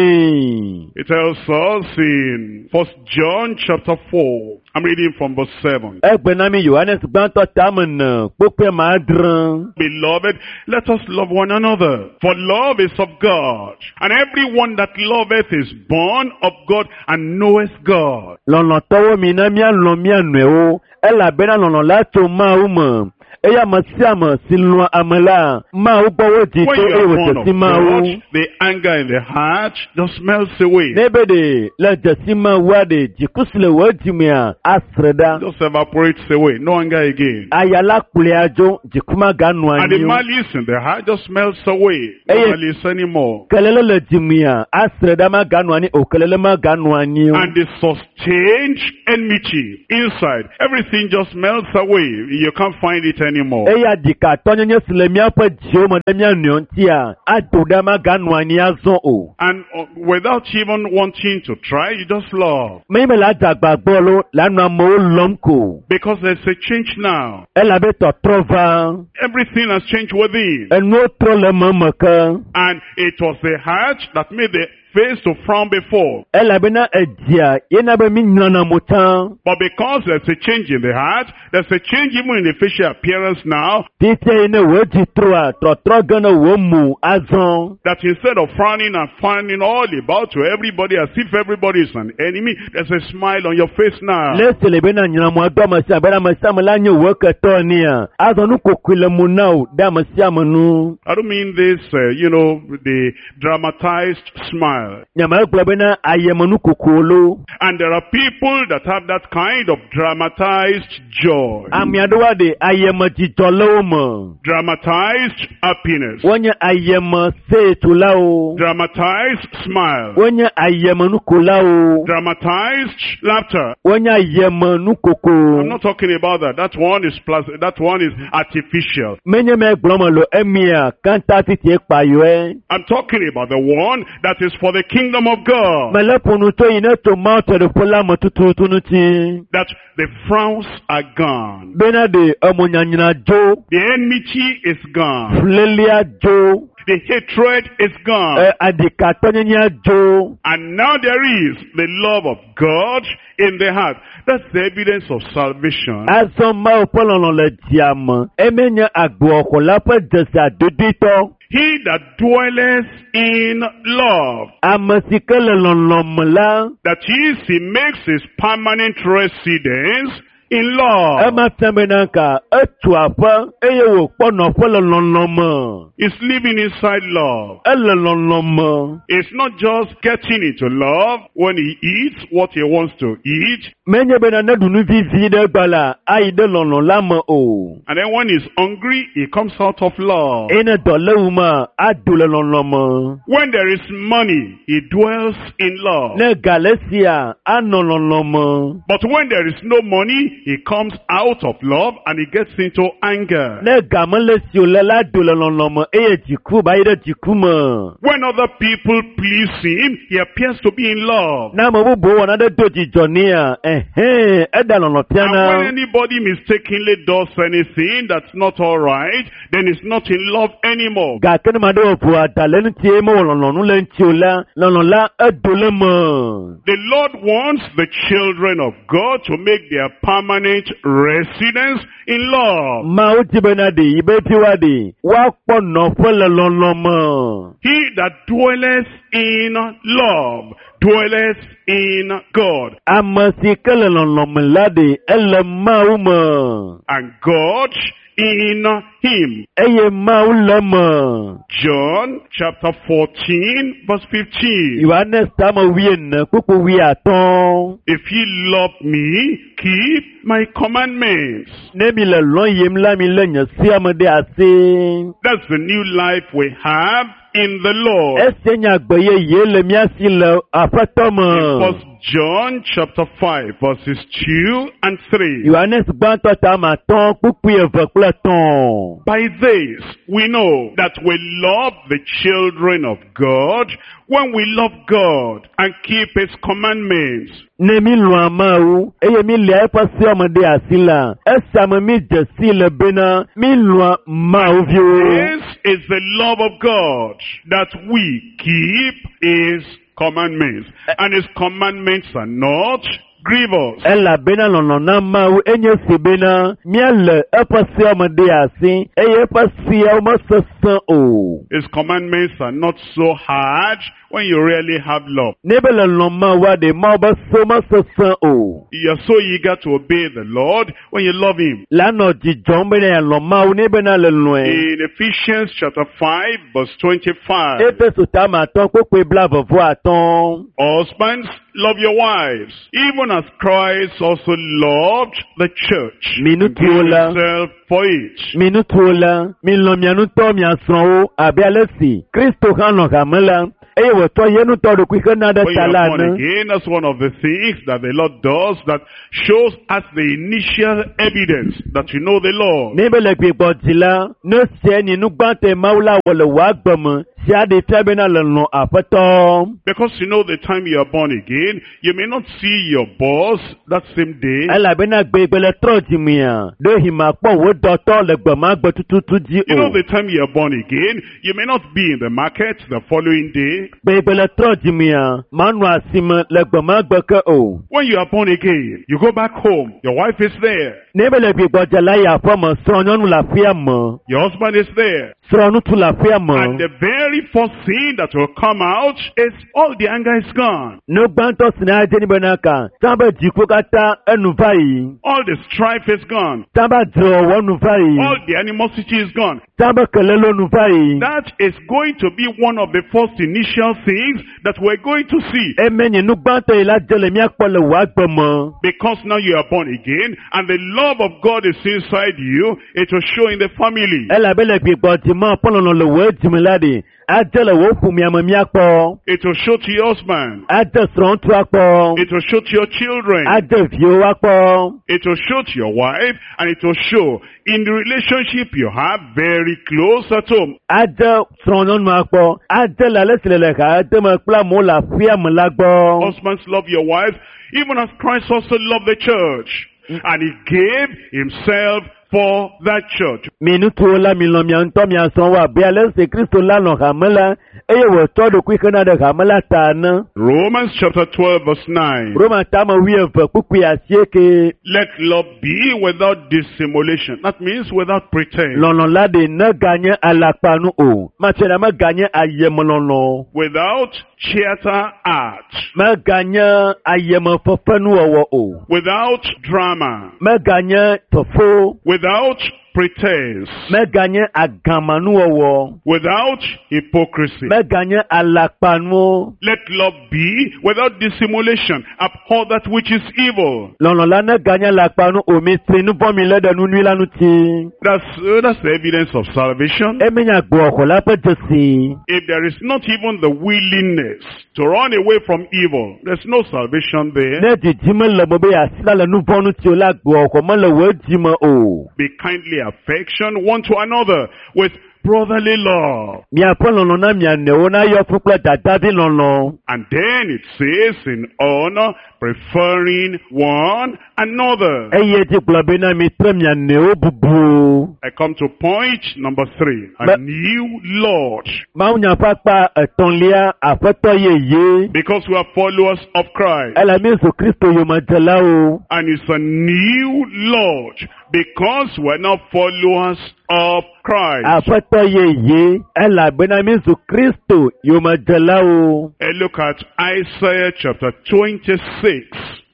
B: amee.
A: It tells us in 1 John chapter 4, I'm reading from verse 7.
B: Egbe na mi Yohanes gbãtɔ tame ene kpokpɔe ma adre.
A: Beloved, let us love one another, for love is of God. And everyone that loveth is born of God and knoweth God.
B: Lɔlɔ̃tɔwo mi na míalɔ̃ mía nɔewo elabena lɔlɔ̃ la tso Mawu me. Eye ame sia ame si lɔ̃a ame la, Mawu gbɔ wodzi
A: When
B: tso
A: you
B: eye
A: are born
B: wòdze
A: of
B: si Mawu.
A: God, the anger in the heart just melts away.
B: Ne be ɖe le dzesi Mawua ɖe dziku si le wò dzimea asre ɖa.
A: Just evaporates away. No anger again.
B: Aya la kplɔe adzo, dziku maganɔ
A: And the
B: anyi o.
A: malice in the heart just melts away. No
B: Eye-
A: malice anymore.
B: Kelele le dzimea asre ɖa maganɔ anyi o, kelele maganɔ anyi o.
A: And the sustained enmity inside, everything just melts away. You can't find it anymore.
B: Eya ɖikatɔnyenye si le míaƒe dziwo me ɖe mía nɔewo ŋutia, ado ɖa maganɔ anyi azɔ o.
A: And without even wanting to try, you just love.
B: Menye be le adze agbagba lo, le anɔ amewo lɔm ko.
A: Because there's a change now.
B: Elabe tɔtrɔ va.
A: Everything has changed within.
B: Enuwo trɔ le meme ke.
A: And it was the heart that made the face to frown before.
B: Elabena edzia yena be mi nyrana mo tsã.
A: But because there's a change in the heart, there's a change even in the facial appearance now,
B: Fifia yi ne wò dzi trɔa, trɔtrɔ ge ne wò mo azɔ.
A: that instead of frowning and frowning all about to everybody as if everybody is an enemy, there's a smile on your face now.
B: Le esi le bena nyramo do ame sia ame bena ame sia ame la nye wò ketɔ enea, azɔ nu kokoe le mo na wò ɖe ame sia ame nu.
A: I don't mean this, the dramatized smile.
B: Nyame gblɔ bena ayemenu koko lo.
A: And there are people that have that kind of dramatized joy,
B: Ame aɖewo aɖe ayeme dzidzɔ le wo me.
A: dramatized happiness,
B: Wonye ayeme seetulawo.
A: dramatized smile,
B: Wonye ayeme nukolawo.
A: dramatized laughter.
B: Wonye ayeme nukoko.
A: I'm not talking about that. That one is plus, that one is artificial.
B: Menye me gblɔ me lo emia kanta titie kpayɔe.
A: I'm talking about the one that is for the kingdom of God.
B: Mele ƒo nu tso yi ne tso Mawu Fiaɖuƒe la me tututu ŋuti.
A: That the frowns are gone.
B: Bena ɖe emonyanyra dzo,
A: The enmity is gone.
B: fulélia dzo,
A: The hatred is gone.
B: e, aɖikatɔnyenyea dzo.
A: And now there is the love of God in the heart. That's the evidence of salvation.
B: Azɔ Mawu ƒe lɔlɔ̃ le dzia me. Eme nye agboxɔla ƒe dzesi adodoetɔ.
A: He that dwelleth in love,
B: Ame si ke le lɔlɔ̃ me la,
A: that is, he makes his permanent residence in love.
B: ema fia bena ka etu aƒe eye wòkpɔ nɔƒe le lɔlɔ̃ me.
A: He's living inside love.
B: Ele lɔlɔ̃ me.
A: It's not just getting into love when he eats what he wants to eat,
B: Menye bena ne ɖu nu vivi ɖe gba la, ayi ɖe lɔlɔ̃ la me o.
A: and then when he's hungry, he comes out of love.
B: Eye ne dɔ le wu mea, ado le lɔlɔ̃ me.
A: When there is money, he dwells in love.
B: Ne ga le sia, anɔ lɔlɔ̃ me.
A: But when there is no money, he comes out of love and he gets into anger.
B: Ne ga mele si o le la, ado le lɔlɔ̃ me eye dziku ba yi ɖe dziku me.
A: When other people please him, he appears to be in love.
B: Ne ame bubuwo wɔ nane do dzidzɔ nea, ɛhɛn, eɖe lɔlɔ̃
A: And when
B: fiana.
A: anybody mistakenly does anything that's not all right, then he's not in love anymore.
B: Gake ne ame aɖewo ʋu ada le ŋuti eye mewɔ lɔlɔ̃nu le ŋuti o la, lɔlɔ̃ la edo le me.
A: The Lord wants the children of God to make their permanent permanent residence in love.
B: Mawu di bena ɖe yi be viwoa ɖe woakpɔ nɔƒe le lɔlɔ me.
A: He that dwelleth in love dwelleth in God,
B: Ame si ke le lɔlɔ me la ɖe ele Mawu me
A: and God in him.
B: Eye Mawu le me.
A: John chapter 14 verse 15.
B: Yohanes tame 14 kpukpu 15.
A: If ye love me, keep my commandments.
B: Ne mi le lɔ̃ yim la mi lé nye sea me ɖe asi.
A: That's the new life we have in the Lord.
B: Esia nye agbe yeye le mía si le Aƒetɔ
A: In
B: me.
A: First John chapter 5 verses 2 and 3.
B: Yohanes gbãtɔ tame 5 kpukpui 2 kple 3.
A: By this we know that we love the children of God when we love God and keep his commandments.
B: Ne mi lɔ̃a Mawu eye mi lia eƒe seawo me ɖe asi la, esia me mi dze si le bena mi lɔ̃a Mawu viwo.
A: This is the love of God, that we keep his commandments. And his commandments are not grievous.
B: Elabena lɔlɔ̃ na Mawu enye si bena míale eƒe seawo me ɖe asi eye eƒe seawo mesesẽ o.
A: His commandments are not so hard when you really have love.
B: Ne be le lɔ̃ Mawua ɖe Mawu be sewo mesesẽ o.
A: You are so eager to obey the Lord when you love him.
B: La nɔ dzidzɔm bena yealɔ̃ Mawu ne bena le lɔ̃e.
A: In Ephesians chapter 5 verse 25.
B: Efeso tame 5 kpukpui 25.
A: Husbands, love your wives, even as Christ also loved the church and
B: Minutuwo
A: gave
B: la.
A: himself for it.
B: Mi ŋutsuwo la, milɔ̃ mia ŋutɔ mia srɔ̃wo abe ale si Kristo hã lɔ̃ hame la eye wòtsɔ ye ŋutɔ ɖokui hena ɖe
A: When you
B: ta
A: are
B: la
A: born
B: ene.
A: again, that's one of the things that the Lord does that shows us the initial evidence that you know the Lord.
B: Ne be le gbigbɔ dzi la, ne sia nye nu gbãtɔe Mawu la wɔ le wò agbe me, sia ɖe fia bena le lɔ̃ Aƒetɔ.
A: Because you know the time you are born again, you may not see your boss that same day.
B: Elabena gbegbe le trɔ dzimea, ɖewohĩ makpɔ wò dɔtɔ le gbe ma gbe tututu dzi
A: You know
B: o.
A: the time you are born again, you may not be in the market the following day.
B: Gbegbe le trɔ dzimea, manɔ asime le gbe ma gbe ke o.
A: When you are born again, you go back home. Your wife is there.
B: Ne be le gbigbɔ dze la yi aƒeme, srɔ̃nyɔnu le aƒea me,
A: Your husband is there.
B: srɔ̃ŋutsu le aƒea
A: And
B: me.
A: the very first thing that will come out is all the anger is gone.
B: Nu gbãtɔ si na dze ni bena ka, tsã be dziku katã enu va yi,
A: All the strife is gone.
B: tsã be adzrewɔwɔ nu va yi,
A: All the animosity is gone.
B: tsã be kelelo nu va yi.
A: That is going to be one of the first initial things that we're going to see.
B: Eme nye nu gbãtɔ yi la dze le míakpɔ le wò agbe me.
A: Because now you are born again and the love of God is inside you, it will show in the family.
B: Elabe le gbigbɔ dzime ƒe lɔlɔ le wò dzime la ɖi, adze le wò ƒomea me míakpɔ.
A: It will show to your husband.
B: Adze srɔ̃ŋutsu akpɔ.
A: It will show to your children.
B: Adze viwo akpɔ.
A: It will show to your wife and it will show in the relationship you have very close at home.
B: Adze srɔ̃nyɔnu akpɔ. Adze le ale si le le ha deme kple amewo le aƒea me la gbɔ.
A: Husbands, love your wives, even as Christ also loved the church. And he gave himself for that church.
B: Mi ŋutsuwo la, milɔ̃ mia ŋutɔ mia srɔ̃wo abe ale si Kristo la lɔ̃ hame la eye wòtsɔ ɖokui hena ɖe hame la ta ene.
A: Romans chapter 12 verse 9.
B: Roma tame 12 kpukpui 8.
A: Let love be without dissimulation. That means without pretense.
B: Lɔlɔ̃ la ɖe neganye alakpanu o. Matsɔe ɖa meganye ayemelɔlɔ̃.
A: Without theater art.
B: Meganye ayemefefenuwɔwɔ o.
A: Without drama.
B: Meganye fefo.
A: Without pretense.
B: Meganye agamanuwɔwɔ.
A: Without hypocrisy.
B: Meganye alakpanuwo.
A: Let love be without dissimulation. Abhor that which is evil.
B: Lɔlɔ̃ la neganye alakpanu o. Mitsri nu vɔ̃ mi lé ɖe nu nyui la ŋuti.
A: That's the evidence of salvation.
B: Eme nye agboxɔ la ƒe dzesi.
A: If there is not even the willingness to run away from evil, there's no salvation there.
B: Ne didi mele me be yeasi la le nu vɔ̃ ŋuti o la, agboxɔ mele wò dzi me o.
A: Be kindly affection one to another with brotherly love.
B: Miaƒe lɔlɔ na mia nɔewo na yɔ fũ kple dadavi lɔlɔ.
A: And then it says in honor, preferring one another.
B: Eye dzi gblɔ bena mitrɔ mia nɔewo bubu.
A: I come to point number 3, a new Lord.
B: Mawunya ƒe akpa etɔ̃lia, aƒetɔ yeye.
A: Because we are followers of Christ.
B: Ele mi zu Kristo yomedzelawo.
A: And it's a new Lord because we are now followers of Christ.
B: Aƒetɔ yeye elabena mi zu Kristo yomedzelawo.
A: And look at Isaiah chapter 26,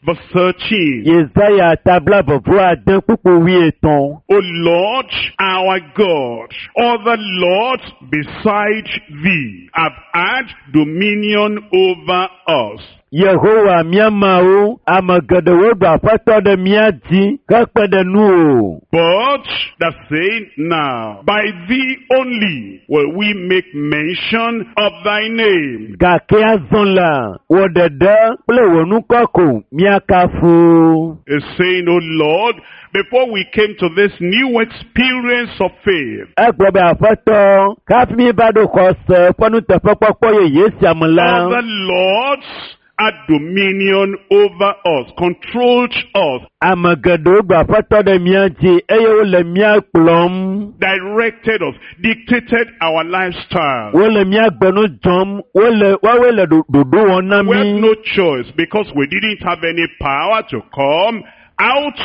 A: verse 13.
B: Yesaya tabla vɔvɔ ade kpukpu wuietɔ̃.
A: O Lord, our God, other lords beside thee have had dominion over us.
B: Yehowa mía Mawu, ame geɖewo ɖu aƒetɔ ɖe mía dzi hekpe ɖe nuwò.
A: But the saying now, by thee only will we make mention of thy name.
B: Gake azɔ la, wò ɖeɖe kple wò ŋkɔ ko míakafu.
A: Is saying, O Lord, before we came to this new experience of faith,
B: Egblɔ be aƒetɔ, hafi mi va ɖo xɔse ƒe nuteƒekpɔkpɔ yeye sia me la,
A: other lords had dominion over us, controlled us,
B: ame geɖewo ɖu aƒetɔ ɖe mía dzi eye wole mía kplɔm.
A: directed us, dictated our lifestyle.
B: Wole mía gbenu dzɔm, wole woawoe le ɖoɖo wɔm na
A: We had
B: mí.
A: no choice because we didn't have any power to come out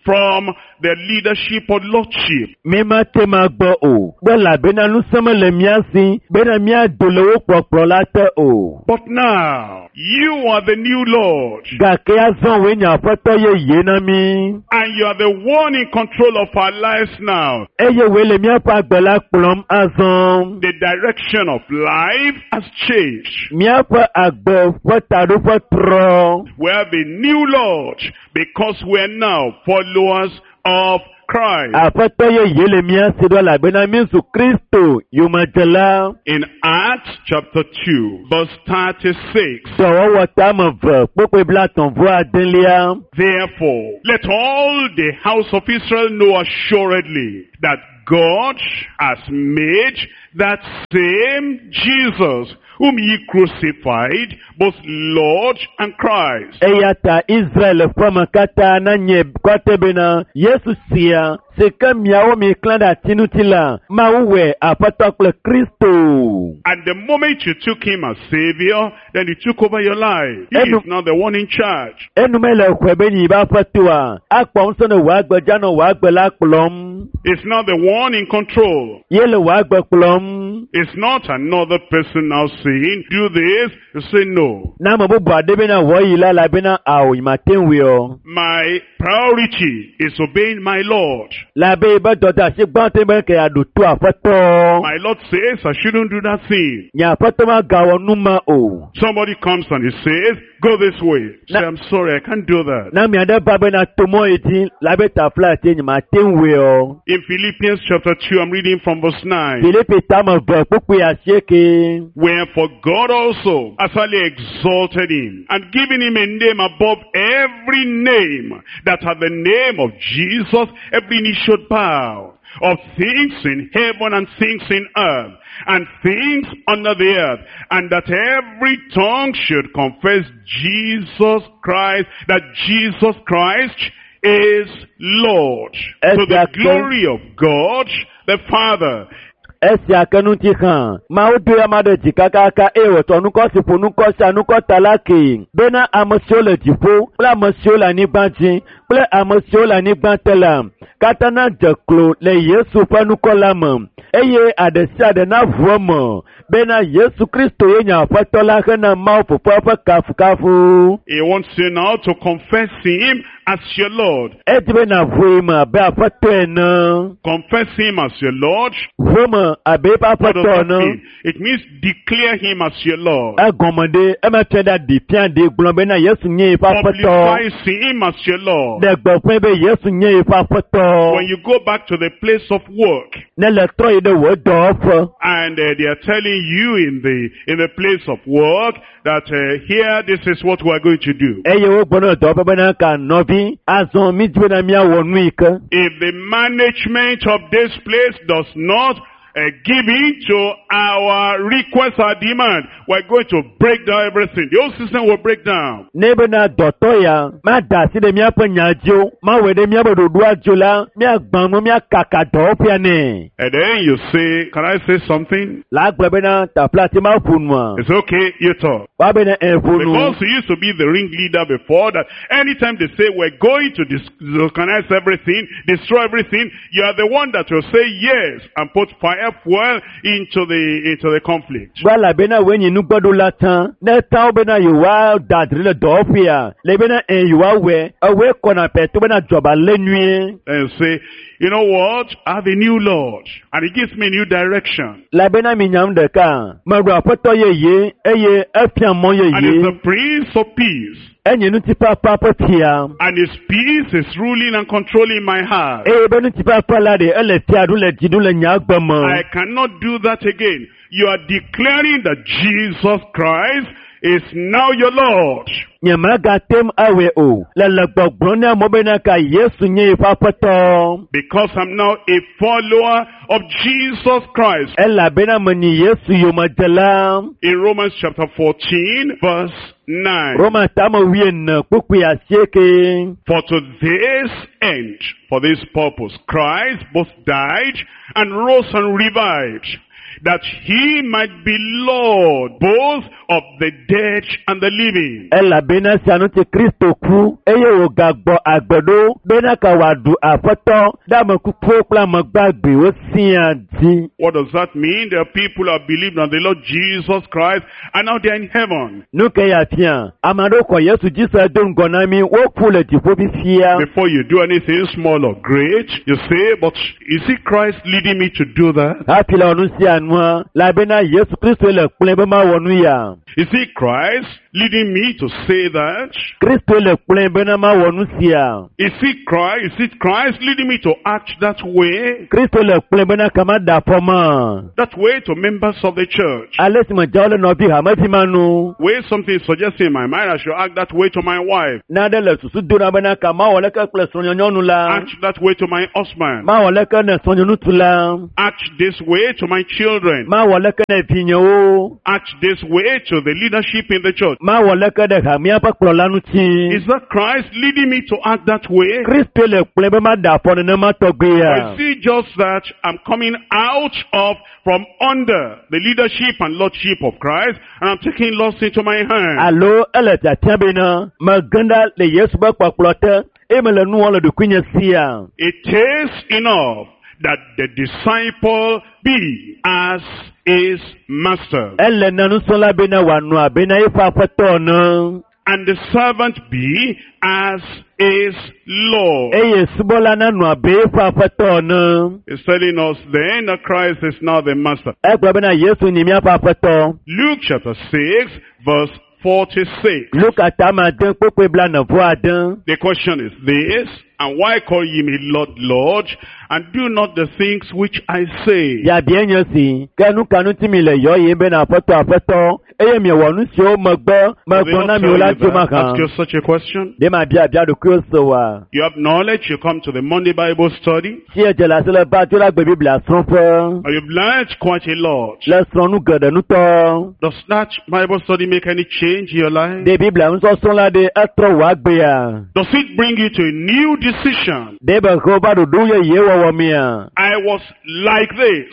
A: from the leadership or lordship.
B: Mi mate ma gbɔ o, be elabena ŋusẽ mele mía si bena míado le wo kplɔkplɔ la te o.
A: But now, you are the new Lord,
B: Gake azɔ wòe nye aƒetɔ yeye na mí.
A: and you are the one in control of our lives now.
B: Eye wòe le míaƒe agbe la kplɔm azɔ.
A: The direction of life has changed.
B: Míaƒe agbe ƒe taɖoƒe trɔ.
A: We have a new Lord because we are now followers of Christ.
B: Aƒetɔ yeye le mía si ɖo elabena mí zu Kristo yomedzela.
A: In Acts chapter 2, verse 36,
B: Dɔwɔwɔ tame ve kpokpoe blaetɔ̃ vɔ adelia.
A: Therefore, let all the house of Israel know assuredly that God has made that same Jesus whom ye crucified, both Lord and Christ.
B: Eya ta Israel ƒe ame katã nanye kɔte bena Yesu sia si ke miawo mi klã ɖe ati ŋuti la, Mawu wɔe Aƒetɔ kple Kristo.
A: And the moment you took him as Savior, then he took over your life. He
B: Enu-
A: is now the one in charge.
B: Enume le xɔe be nyi be aƒetoa, akpɔ ŋusẽ ne wò agbe dza nɔ wò agbe la kplɔm.
A: He's not the one in control.
B: Ye le wò agbe kplɔm.
A: It's not another person now saying, do this. You say no.
B: Ne ame bubu aɖe bena wɔ yi la, elabena ao yi mate ŋui o.
A: My priority is obeying my Lord.
B: Labe yi be dɔdeasi gbãtɔe be ke yeaɖo to aƒetɔ.
A: My Lord says I shouldn't do that thing.
B: Nye aƒetɔ magawɔ nu ma o.
A: Somebody comes and he says, go this way. Say,
B: Na-
A: I'm sorry, I can't do that.
B: Ne ame aɖe va bena to mɔ yi dzi labe tafla tse nye mate ŋui o.
A: In Philippians chapter 2, I'm reading from verse 9.
B: Filipi tame ve kpukpui asieke.
A: Wherefore God also has highly exalted him and given him a name above every name, that at the name of Jesus every knee should bow, of things in heaven and things in earth, and things under the earth, and that every tongue should confess Jesus Christ, that Jesus Christ is Lord, to the
B: Exactly.
A: glory of God the Father.
B: Esia ke ŋuti hã, Mawu do ame ɖe dzi kakaka eye wòtsɔ ŋkɔ si ƒo ŋkɔ sia ŋkɔ ta la kee bena ame siwo le dziƒo kple ame siwo le anyigba dzi kple ame siwo le anyigba te la katã nadze klo le Yesu ƒe ŋkɔ la me eye aɖe sia aɖe naʋu eme bena Yesu Kristo ye nye Aƒetɔ la hena Mawu Fofoa ƒe kafukafu.
A: He wants you now to confess him as your Lord.
B: Edi be nàʋu me abe Aƒetɔ ene.
A: Confess him as your Lord.
B: Ʋu eme abe eƒe
A: What does
B: Aƒetɔ
A: that
B: ene.
A: mean? It means declare him as your Lord.
B: Egɔme ɖe eme fia ɖe aɖi fia ɖi gblɔ bena Yesu nye yeƒe aƒetɔ.
A: Publicize him as your Lord.
B: Ɖe gbeƒãe be Yesu nye yeƒe aƒetɔ.
A: When you go back to the place of work
B: Ne le trɔ yi ɖe wò dɔwɔƒe
A: and they are telling you in the place of work that here this is what we are going to do.
B: eye wogblɔ na dɔwɔƒe bena ka nɔvi azɔ mi dzi bena míawɔ nu yi ke.
A: If the management of this place does not give in to our request, our demand, we're going to break down everything. The whole system will break down.
B: Ne bena dɔtɔ ya mada asi ɖe míaƒe nya dzi o, mawɔe ɖe míaƒe ɖoɖoa dzi o la, míagbã nu míakaka dɔwɔƒea nɛ.
A: And then you say, can I say something?
B: La gblɔ bena taƒla ti ma ƒo nua.
A: It's okay, you talk.
B: Woa bena ɛ ƒo nu.
A: Because he used to be the ringleader before that, anytime they say we're going to disorganize everything, destroy everything, you are the one that will say yes and put fire fuel into the conflict.
B: Gba elabena woe nyi nugbɔɖola tsã. Ne tawo bena yewoa da dri le dɔwɔƒea, le bena ɛ yewoa wɔe, ewɔe kɔna pɛ to bena dzɔba lé nyuie.
A: And say, you know what? I have a new Lord, and he gives me a new direction.
B: Elabena mi nyam ɖeka, meɖo aƒetɔ yeye eye efia mɔ
A: And he's
B: yeye.
A: the Prince of Peace.
B: Enye ŋutifafa ƒe fia.
A: And his peace is ruling and controlling my heart.
B: Eye be ŋutifafa la ɖe ele fia ɖum le dzi ɖum le nye agbe me.
A: I cannot do that again. You are declaring that Jesus Christ is now your Lord.
B: Nye megatem awɔe o. Le le gbɔgblɔm na amewo bena ka Yesu nye yeƒe aƒetɔ.
A: Because I'm now a follower of Jesus Christ.
B: Elabena menyi Yesu yomedzela.
A: In Romans chapter 14, verse 9.
B: Roma tame wuiene kpukpui asieke.
A: For to this end, for this purpose, Christ both died and rose and revived, that he might be Lord both of the dead and the living.
B: Elabena sia ŋuti Kristo ku eye wògagbɔ agbe ɖo bena ka wòaɖu aƒetɔ ɖe ame kukuwo kple ame gbagbewo siaa dzi.
A: What does that mean? There are people who have believed on the Lord Jesus Christ and now they are in heaven.
B: Nu ke ya fia, ame aɖewo xɔ Yesu dzi se do ŋgɔ na mí, woku le dziƒo fifia.
A: Before you do anything small or great, you say, but is it Christ leading me to do that?
B: Hafi le wɔ nu sia nua, elabena Yesu Kristo le kplɔe be mawɔ nu ya.
A: Is it Christ leading me to say that?
B: Kristo le kplɔe bena mawɔ nu sia.
A: Is it Christ? Is it Christ leading me to act that way?
B: Kristo le kplɔe bena kama da afɔ ma.
A: That way to members of the church.
B: Ale si me dzawo le nɔvi hamevi ma nu.
A: Way something is suggesting in my mind, I should act that way to my wife.
B: Nane le susu do na bena ka mawɔ leke kple srɔ̃nyɔnu la.
A: Act that way to my husband.
B: Mawɔ leke ne srɔ̃nyɔnutu la.
A: Act this way to my children.
B: Mawɔ leke ne vinyewo.
A: Act this way to the leadership in the church.
B: Mawɔ leke ɖe hamea ƒe kplɔla ŋuti.
A: Is that Christ leading me to act that way?
B: Kristo le kplɔe be mada afɔ nenema tɔgbea.
A: Or is it just that I'm coming out of, from under the leadership and lordship of Christ, and I'm taking lust into my hand?
B: Alo ele tiatia bena megena le Yesu ƒe kpɔkplɔ te eye mele nu wɔm le ɖokuinye sia.
A: It is enough that the disciple be as his master,
B: Ele na nusrɔ̃la bena wòanɔ abe na eƒe aƒetɔ ene.
A: and the servant be as his Lord.
B: Eye subɔla nanɔ abe eƒe aƒetɔ ene.
A: He's telling us then that Christ is now the master.
B: Egblɔ bena Yesu nyi míaƒe aƒetɔ.
A: Luke chapter 6, verse 46.
B: Luka tame ade kpukpui blaene-vɔ-ade.
A: The question is this, and why call ye me Lord, Lord, and do not the things which I say?
B: Biabia nye si, ke nu ka ŋuti mi le yɔ yim bena aƒetɔ aƒetɔ eye miewɔ nu siwo megbe
A: Do they
B: megblɔ
A: not
B: na mi
A: tell
B: o la
A: you
B: tso
A: that?
B: mahã.
A: Ask you such a question.
B: Ɖe mabia bia ɖokuiwo se oa?
A: You have knowledge, you come to the Monday Bible study,
B: Si edze le asi le va dzo la gbe Biblia srɔ̃ƒe.
A: and you've learned quite a lot.
B: Le srɔ̃ nu geɖe ŋutɔ.
A: Does that Bible study make any change in your life?
B: Ɖe Biblia nusɔsrɔ̃ la ɖe etrɔ wò agbea?
A: Does it bring you to a new decision?
B: Ɖe be he va ɖoɖo yeye wɔwɔ mea?
A: I was like this.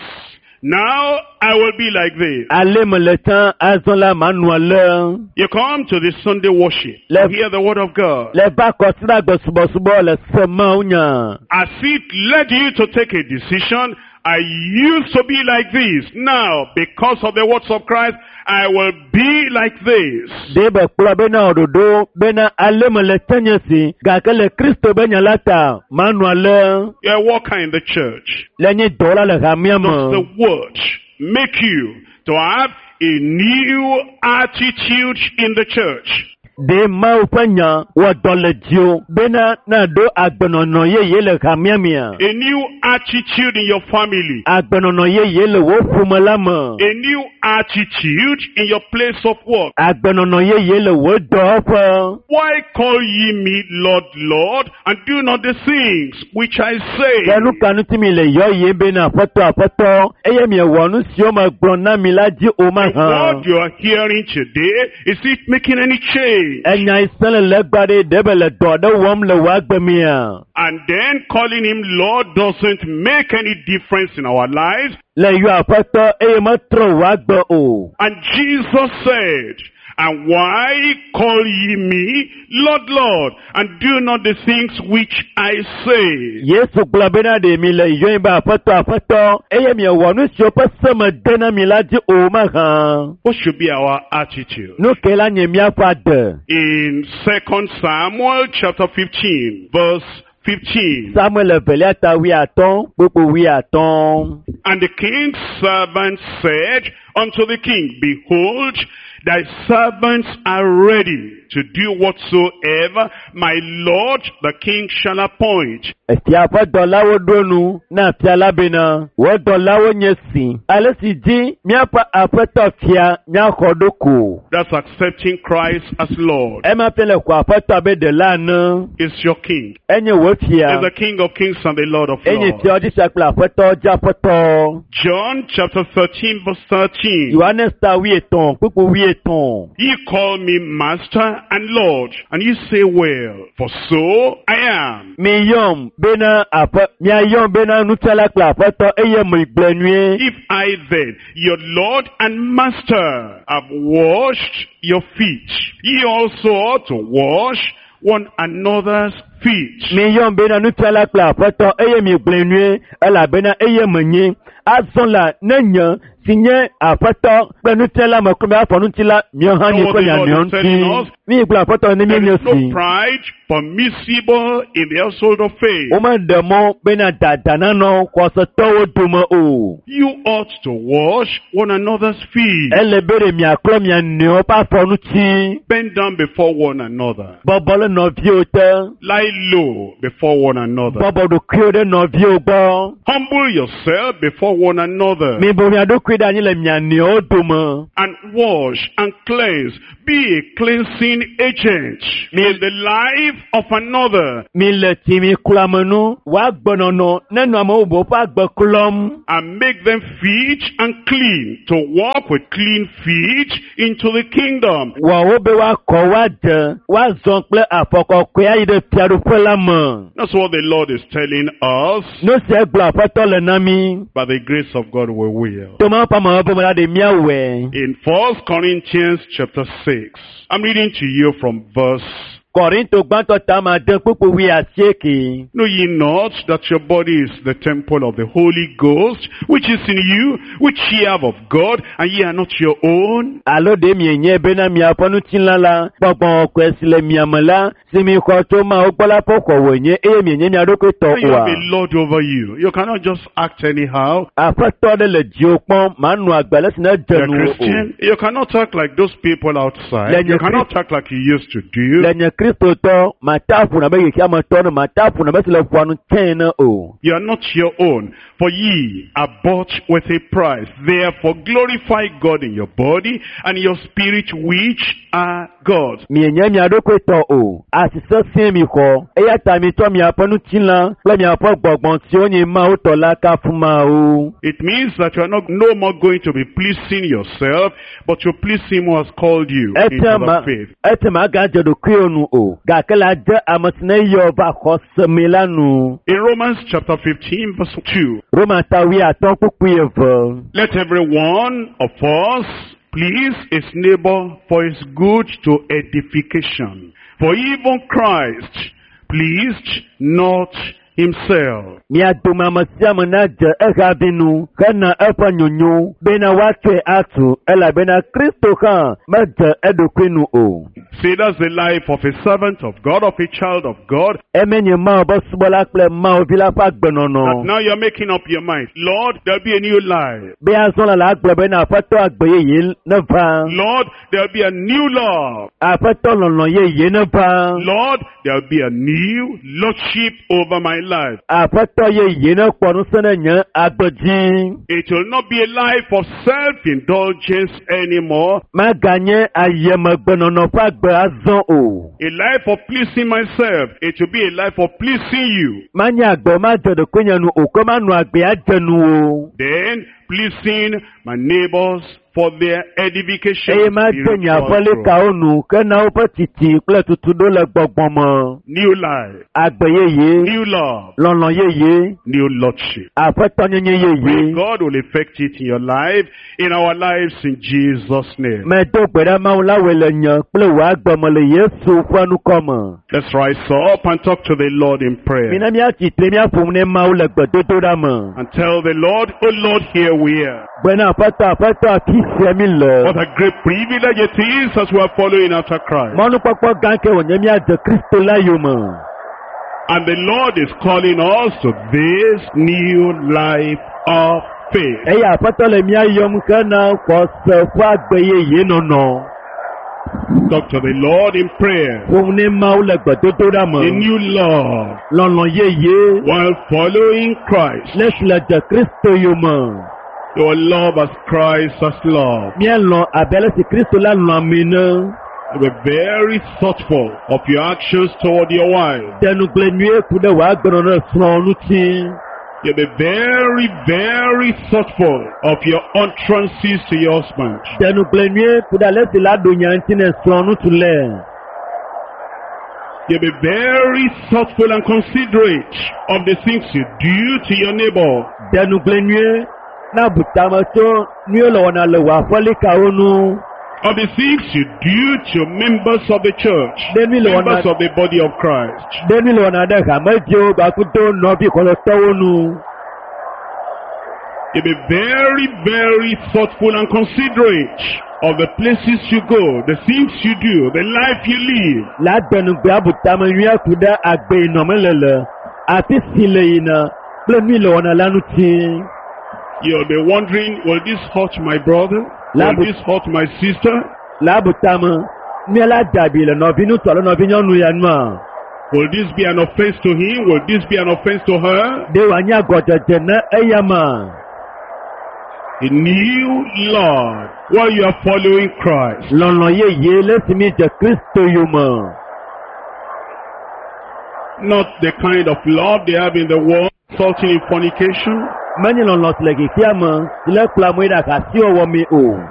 A: Now I will be like this.
B: Ale mele tsã azɔ la manɔ ale.
A: You come to the Sunday worship, hear the word of God.
B: Le va kɔsiɖagbe subɔsubɔ le se Mawu nya.
A: As it led you to take a decision, I used to be like this. Now, because of the words of Christ, I will be like this.
B: Ɖe be kplɔ bena wò ɖoɖo bena ale mele tsã nye si gake le Kristo be nya la ta manɔ ale.
A: You're a worker in the church.
B: Le nye dɔwɔla le hamea
A: Does the
B: me.
A: word make you to have a new attitude in the church?
B: Ɖe Mawu ƒe nya wɔ dɔ le dziwò bena naɖo agbenɔnɔ yeye le hamea mea?
A: A new attitude in your family.
B: Agbenɔnɔ yeye le wò ƒome la me.
A: A new attitude in your place of work.
B: Agbenɔnɔ yeye le wò dɔwɔƒe.
A: Why call ye me Lord, Lord, and do not the things which I say?
B: Ke nu ka ŋuti mi le yɔyem bena aƒetɔ aƒetɔ eye miewɔ nu siwo megblɔ na mi la dzi o
A: The
B: mahã?
A: word you are hearing today, is it making any change?
B: Enya yi sẽ le legba ɖe ɖe be le dɔ aɖe wɔm le wò agbe mea?
A: And then calling him Lord doesn't make any difference in our lives.
B: Le yɔ aƒetɔ eye metrɔ wò agbe o.
A: And Jesus said, And why call ye me Lord, Lord, and do not the things which I say?
B: Yesu gblɔ bena ɖe mi le yɔm be aƒetɔ aƒetɔ eye miewɔ nu siwo ƒe se me de na mi la dzi o mahã.
A: What should be our attitude?
B: Nu ke la nye míaƒe ade.
A: In 2 Samuel chapter 15, verse 15.
B: Samuel evelia ta wuiatɔ̃ kpukpu wuiatɔ̃.
A: And the king's servant said unto the king, Behold, thy servants are ready to do whatsoever my lord the king shall appoint.
B: Efia ƒe dɔlawo ɖo nu na fia la bena, wò dɔlawo nye si, ale si dzi míaƒe aƒetɔ fia míaxɔ ɖo ko.
A: That's accepting Christ as Lord.
B: Ema fia le xɔ aƒetɔ abe ɖela ene.
A: Is your king.
B: Enye wò fia.
A: Is the King of kings and the Lord of
B: Enye
A: lords.
B: fia dzi fia kple aƒetɔ dzi aƒetɔ.
A: John chapter 13 verse 13.
B: Yohanes ta wuietɔ̃ kpukpu wuietɔ̃.
A: Ye call me master and Lord, and ye say well, for so I am.
B: Mi yɔm bena aƒe miayɔm bena nufiala kple aƒetɔ eye mi gblɔe nyuie.
A: If I then, your Lord and Master, have washed your feet, ye also ought to wash one another's feet.
B: Mi yɔm bena nufiala kple aƒetɔ eye mi gblɔe nyuie elabena eye menye. Azɔ la ne nye si nye aƒetɔ kple nufiala me klɔ miaƒe ŋuti la miawo hã
A: Know
B: mi
A: what
B: kple
A: the
B: mia
A: Lord
B: nɔewo
A: is telling
B: ŋuti.
A: us?
B: Mi gblɔ aƒetɔ ne
A: There
B: mienye
A: is no
B: si.
A: pride permissible in the household of faith.
B: Womeɖe mɔ bena dada nanɔ xɔsetɔwo dome o.
A: You ought to wash one another's feet.
B: Ele be ɖe miaklɔ mia nɔewo ƒe afɔ ŋuti.
A: Bend down before one another.
B: Bɔbɔ ɖe nɔviwo te.
A: Lie low before one another.
B: Bɔbɔ ɖokuiwo ɖe nɔviwo gbɔ.
A: Humble yourself before one another.
B: Mibu mia ɖokui ɖe anyi le mia nɔewo dome.
A: And wash and cleanse. Be a cleansing agent in the life of another.
B: Mi le tsi mi klɔ ame nu. Woagbenɔnɔ nenɔ ame bubuwo ƒe agbe klɔm.
A: And make them fit and clean to walk with clean feet into the kingdom.
B: Wɔ wo be woakɔ woadze, woazɔ kple afɔ kɔkɔe ayi ɖe fiaɖuƒe la me.
A: That's what the Lord is telling us.
B: Nu sia gblɔ aƒetɔ le na mi.
A: By the grace of God we will.
B: To Mawu ƒe amewo me la ɖe míawɔe.
A: In 1 Corinthians chapter 6, I'm reading to you from verse
B: Kɔrinto gbãtɔ ta ma de kpukpu wuiasieke.
A: Know ye not that your body is the temple of the Holy Ghost, which is in you, which ye have of God, and ye are not your own?
B: Alo ɖe mienye bena miaƒe ŋutilã la, gbɔgbɔ kɔkɔe si le mia me la, si mi xɔ tso Mawu gbɔ la ƒe xɔ wònye eye mienye mia ɖokui tɔ
A: And you
B: oa?
A: have a Lord over you. You cannot just act anyhow.
B: Aƒetɔ ɖe le dziwò kpɔm, manɔ agbe ale si ne dze
A: You're a
B: nuwò o.
A: Christian. You cannot act like those people outside.
B: Then
A: You
B: you
A: cannot act like you used to do.
B: Le nye Kristotɔ, mate aƒo na be xexeametɔ ne mate aƒo na be si le ƒoa nu tsɛ ne o.
A: You are not your own, for ye are bought with a price. Therefore glorify God in your body and your spirit, which are God's.
B: Mienye mia ɖokui tɔ o, asi sesẽ mi xɔ, eya ta mitsɔ miaƒe ŋutilã kple miaƒe gbɔgbɔ siwo nye Mawu tɔ la kafu Mawu.
A: It means that you are not no more going to be pleasing yourself, but you please him who has called you into
B: Etia
A: the
B: ma
A: faith.
B: etia magadze ɖokuiwò nu o, gake la dze ame si ne yɔ va xɔse me la nu.
A: In Romans chapter 15 verse 2,
B: Roma ta wuiatɔ̃ kpukpui eve.
A: let every one of us please his neighbor for his good to edification. For even Christ pleased not himself.
B: Mia dome ame sia ame nadze ehavi nu hena eƒe nyonyo bena woatsɔe atu elabena Kristo hã medze eɖokui nu o.
A: See, that's the life of a servant of God, of a child of God.
B: Eme nye Mawu ƒe subɔla kple Mawu vi la ƒe agbenɔnɔ.
A: That now you're making up your mind. Lord, there'll be a new life.
B: Be azɔ la la agblɔ bena Aƒetɔ agbe yeye neva.
A: Lord, there'll be a new love.
B: Aƒetɔ lɔlɔ̃ yeye neva.
A: Lord, there'll be a new lordship over my life.
B: Aƒetɔ yeye nekpɔ ŋusẽ ɖe nye agbe dzi.
A: It will not be a life of self-indulgence anymore.
B: Maganye ayemegbenɔnɔ ƒe agbe azɔ o.
A: A life of pleasing myself. It will be a life of pleasing you.
B: Manye agbe madze ɖokuinye nu o, ke manɔ agbe adze nu o.
A: Then pleasing my neighbors for their edification.
B: Eye made nye
A: spiritual growth.
B: aƒelikawo nu hena woƒe tsitsi kple tutuɖo le gbɔgbɔ me.
A: New life,
B: Agbe yeye,
A: new love,
B: lɔlɔ̃ yeye,
A: new lordship.
B: aƒetɔnyenye
A: Pray
B: yeye.
A: God will effect it in your life, in our lives, in Jesus' name.
B: Medo gbe ɖa Mawu la wɔe le nye kple wò agbe me le Yesu ƒe ŋkɔ me.
A: Let's rise up and talk to the Lord in prayer.
B: Mina míatsi tre míaƒo nu ne Mawu le gbedodoɖa me.
A: And tell the Lord, Oh Lord, here we are.
B: Gbena aƒetɔ aƒetɔ afi sia mi le.
A: What a great privilege it is as we are following after Christ.
B: Mɔnukpɔkpɔ gã ke wònye míadze Kristo la yome.
A: And the Lord is calling us to this new life of faith.
B: Eye aƒetɔ le mía yɔm hena xɔse ƒe agbe yeye nɔnɔ.
A: Talk to the Lord in prayer.
B: Ƒo nu ne Mawu le gbedodoɖa
A: A
B: me.
A: new love
B: Lɔlɔ̃ yeye
A: while following Christ.
B: ne si le dze Kristo yome.
A: Your love as Christ has loved.
B: Míelɔ̃ abe ale si Kristo la lɔ̃ ami ene.
A: Be very thoughtful of your actions toward your wife.
B: De nugble nyuie ku ɖe wò agbenɔnɔ ɖe srɔ̃wò ŋuti.
A: You'll be very, very thoughtful of your utterances to your husband.
B: De nugble nyuie ku ɖe ale si la ɖo nya ŋuti ne srɔ̃wò ŋutsu le.
A: You'll be very thoughtful and considerate of the things you do to your neighbor.
B: De nugble nyuie na bu tame tso nu yiwo le wɔna le wò aƒelikawo ŋu.
A: Of the things you do to members of the church,
B: Ɖe nu yi le wɔna
A: members of the body of Christ.
B: ɖe nu yi le wɔna ɖe hameviwo gbakudo nɔvi xɔlɔtɔwo ŋu.
A: You'll be very, very thoughtful and considerate of the places you go, the things you do, the life you live.
B: La de nugbe abu tame nyuie ku ɖe agbe yi nɔme le le afi si le yina kple nu yi le wɔna la ŋuti.
A: You'll be wondering, will this hurt my brother? Will
B: Labu-
A: this hurt my sister?
B: La abu tame mía la dabi le nɔvi ŋutsu alo nɔvi nyɔnu ya nua.
A: Will this be an offense to him? Will this be an offense to her?
B: Ɖe wòanye agɔdzedze ne eya ma.
A: A new love while you are following Christ.
B: Lɔlɔ̃ yeye le esi mi dze Kristo yome.
A: Not the kind of love they have in the world, resulting in fornication.
B: Menye lɔlɔ̃ si le xexea me si le kplɔ amewo yi ɖe ahasiwɔwɔ mee o.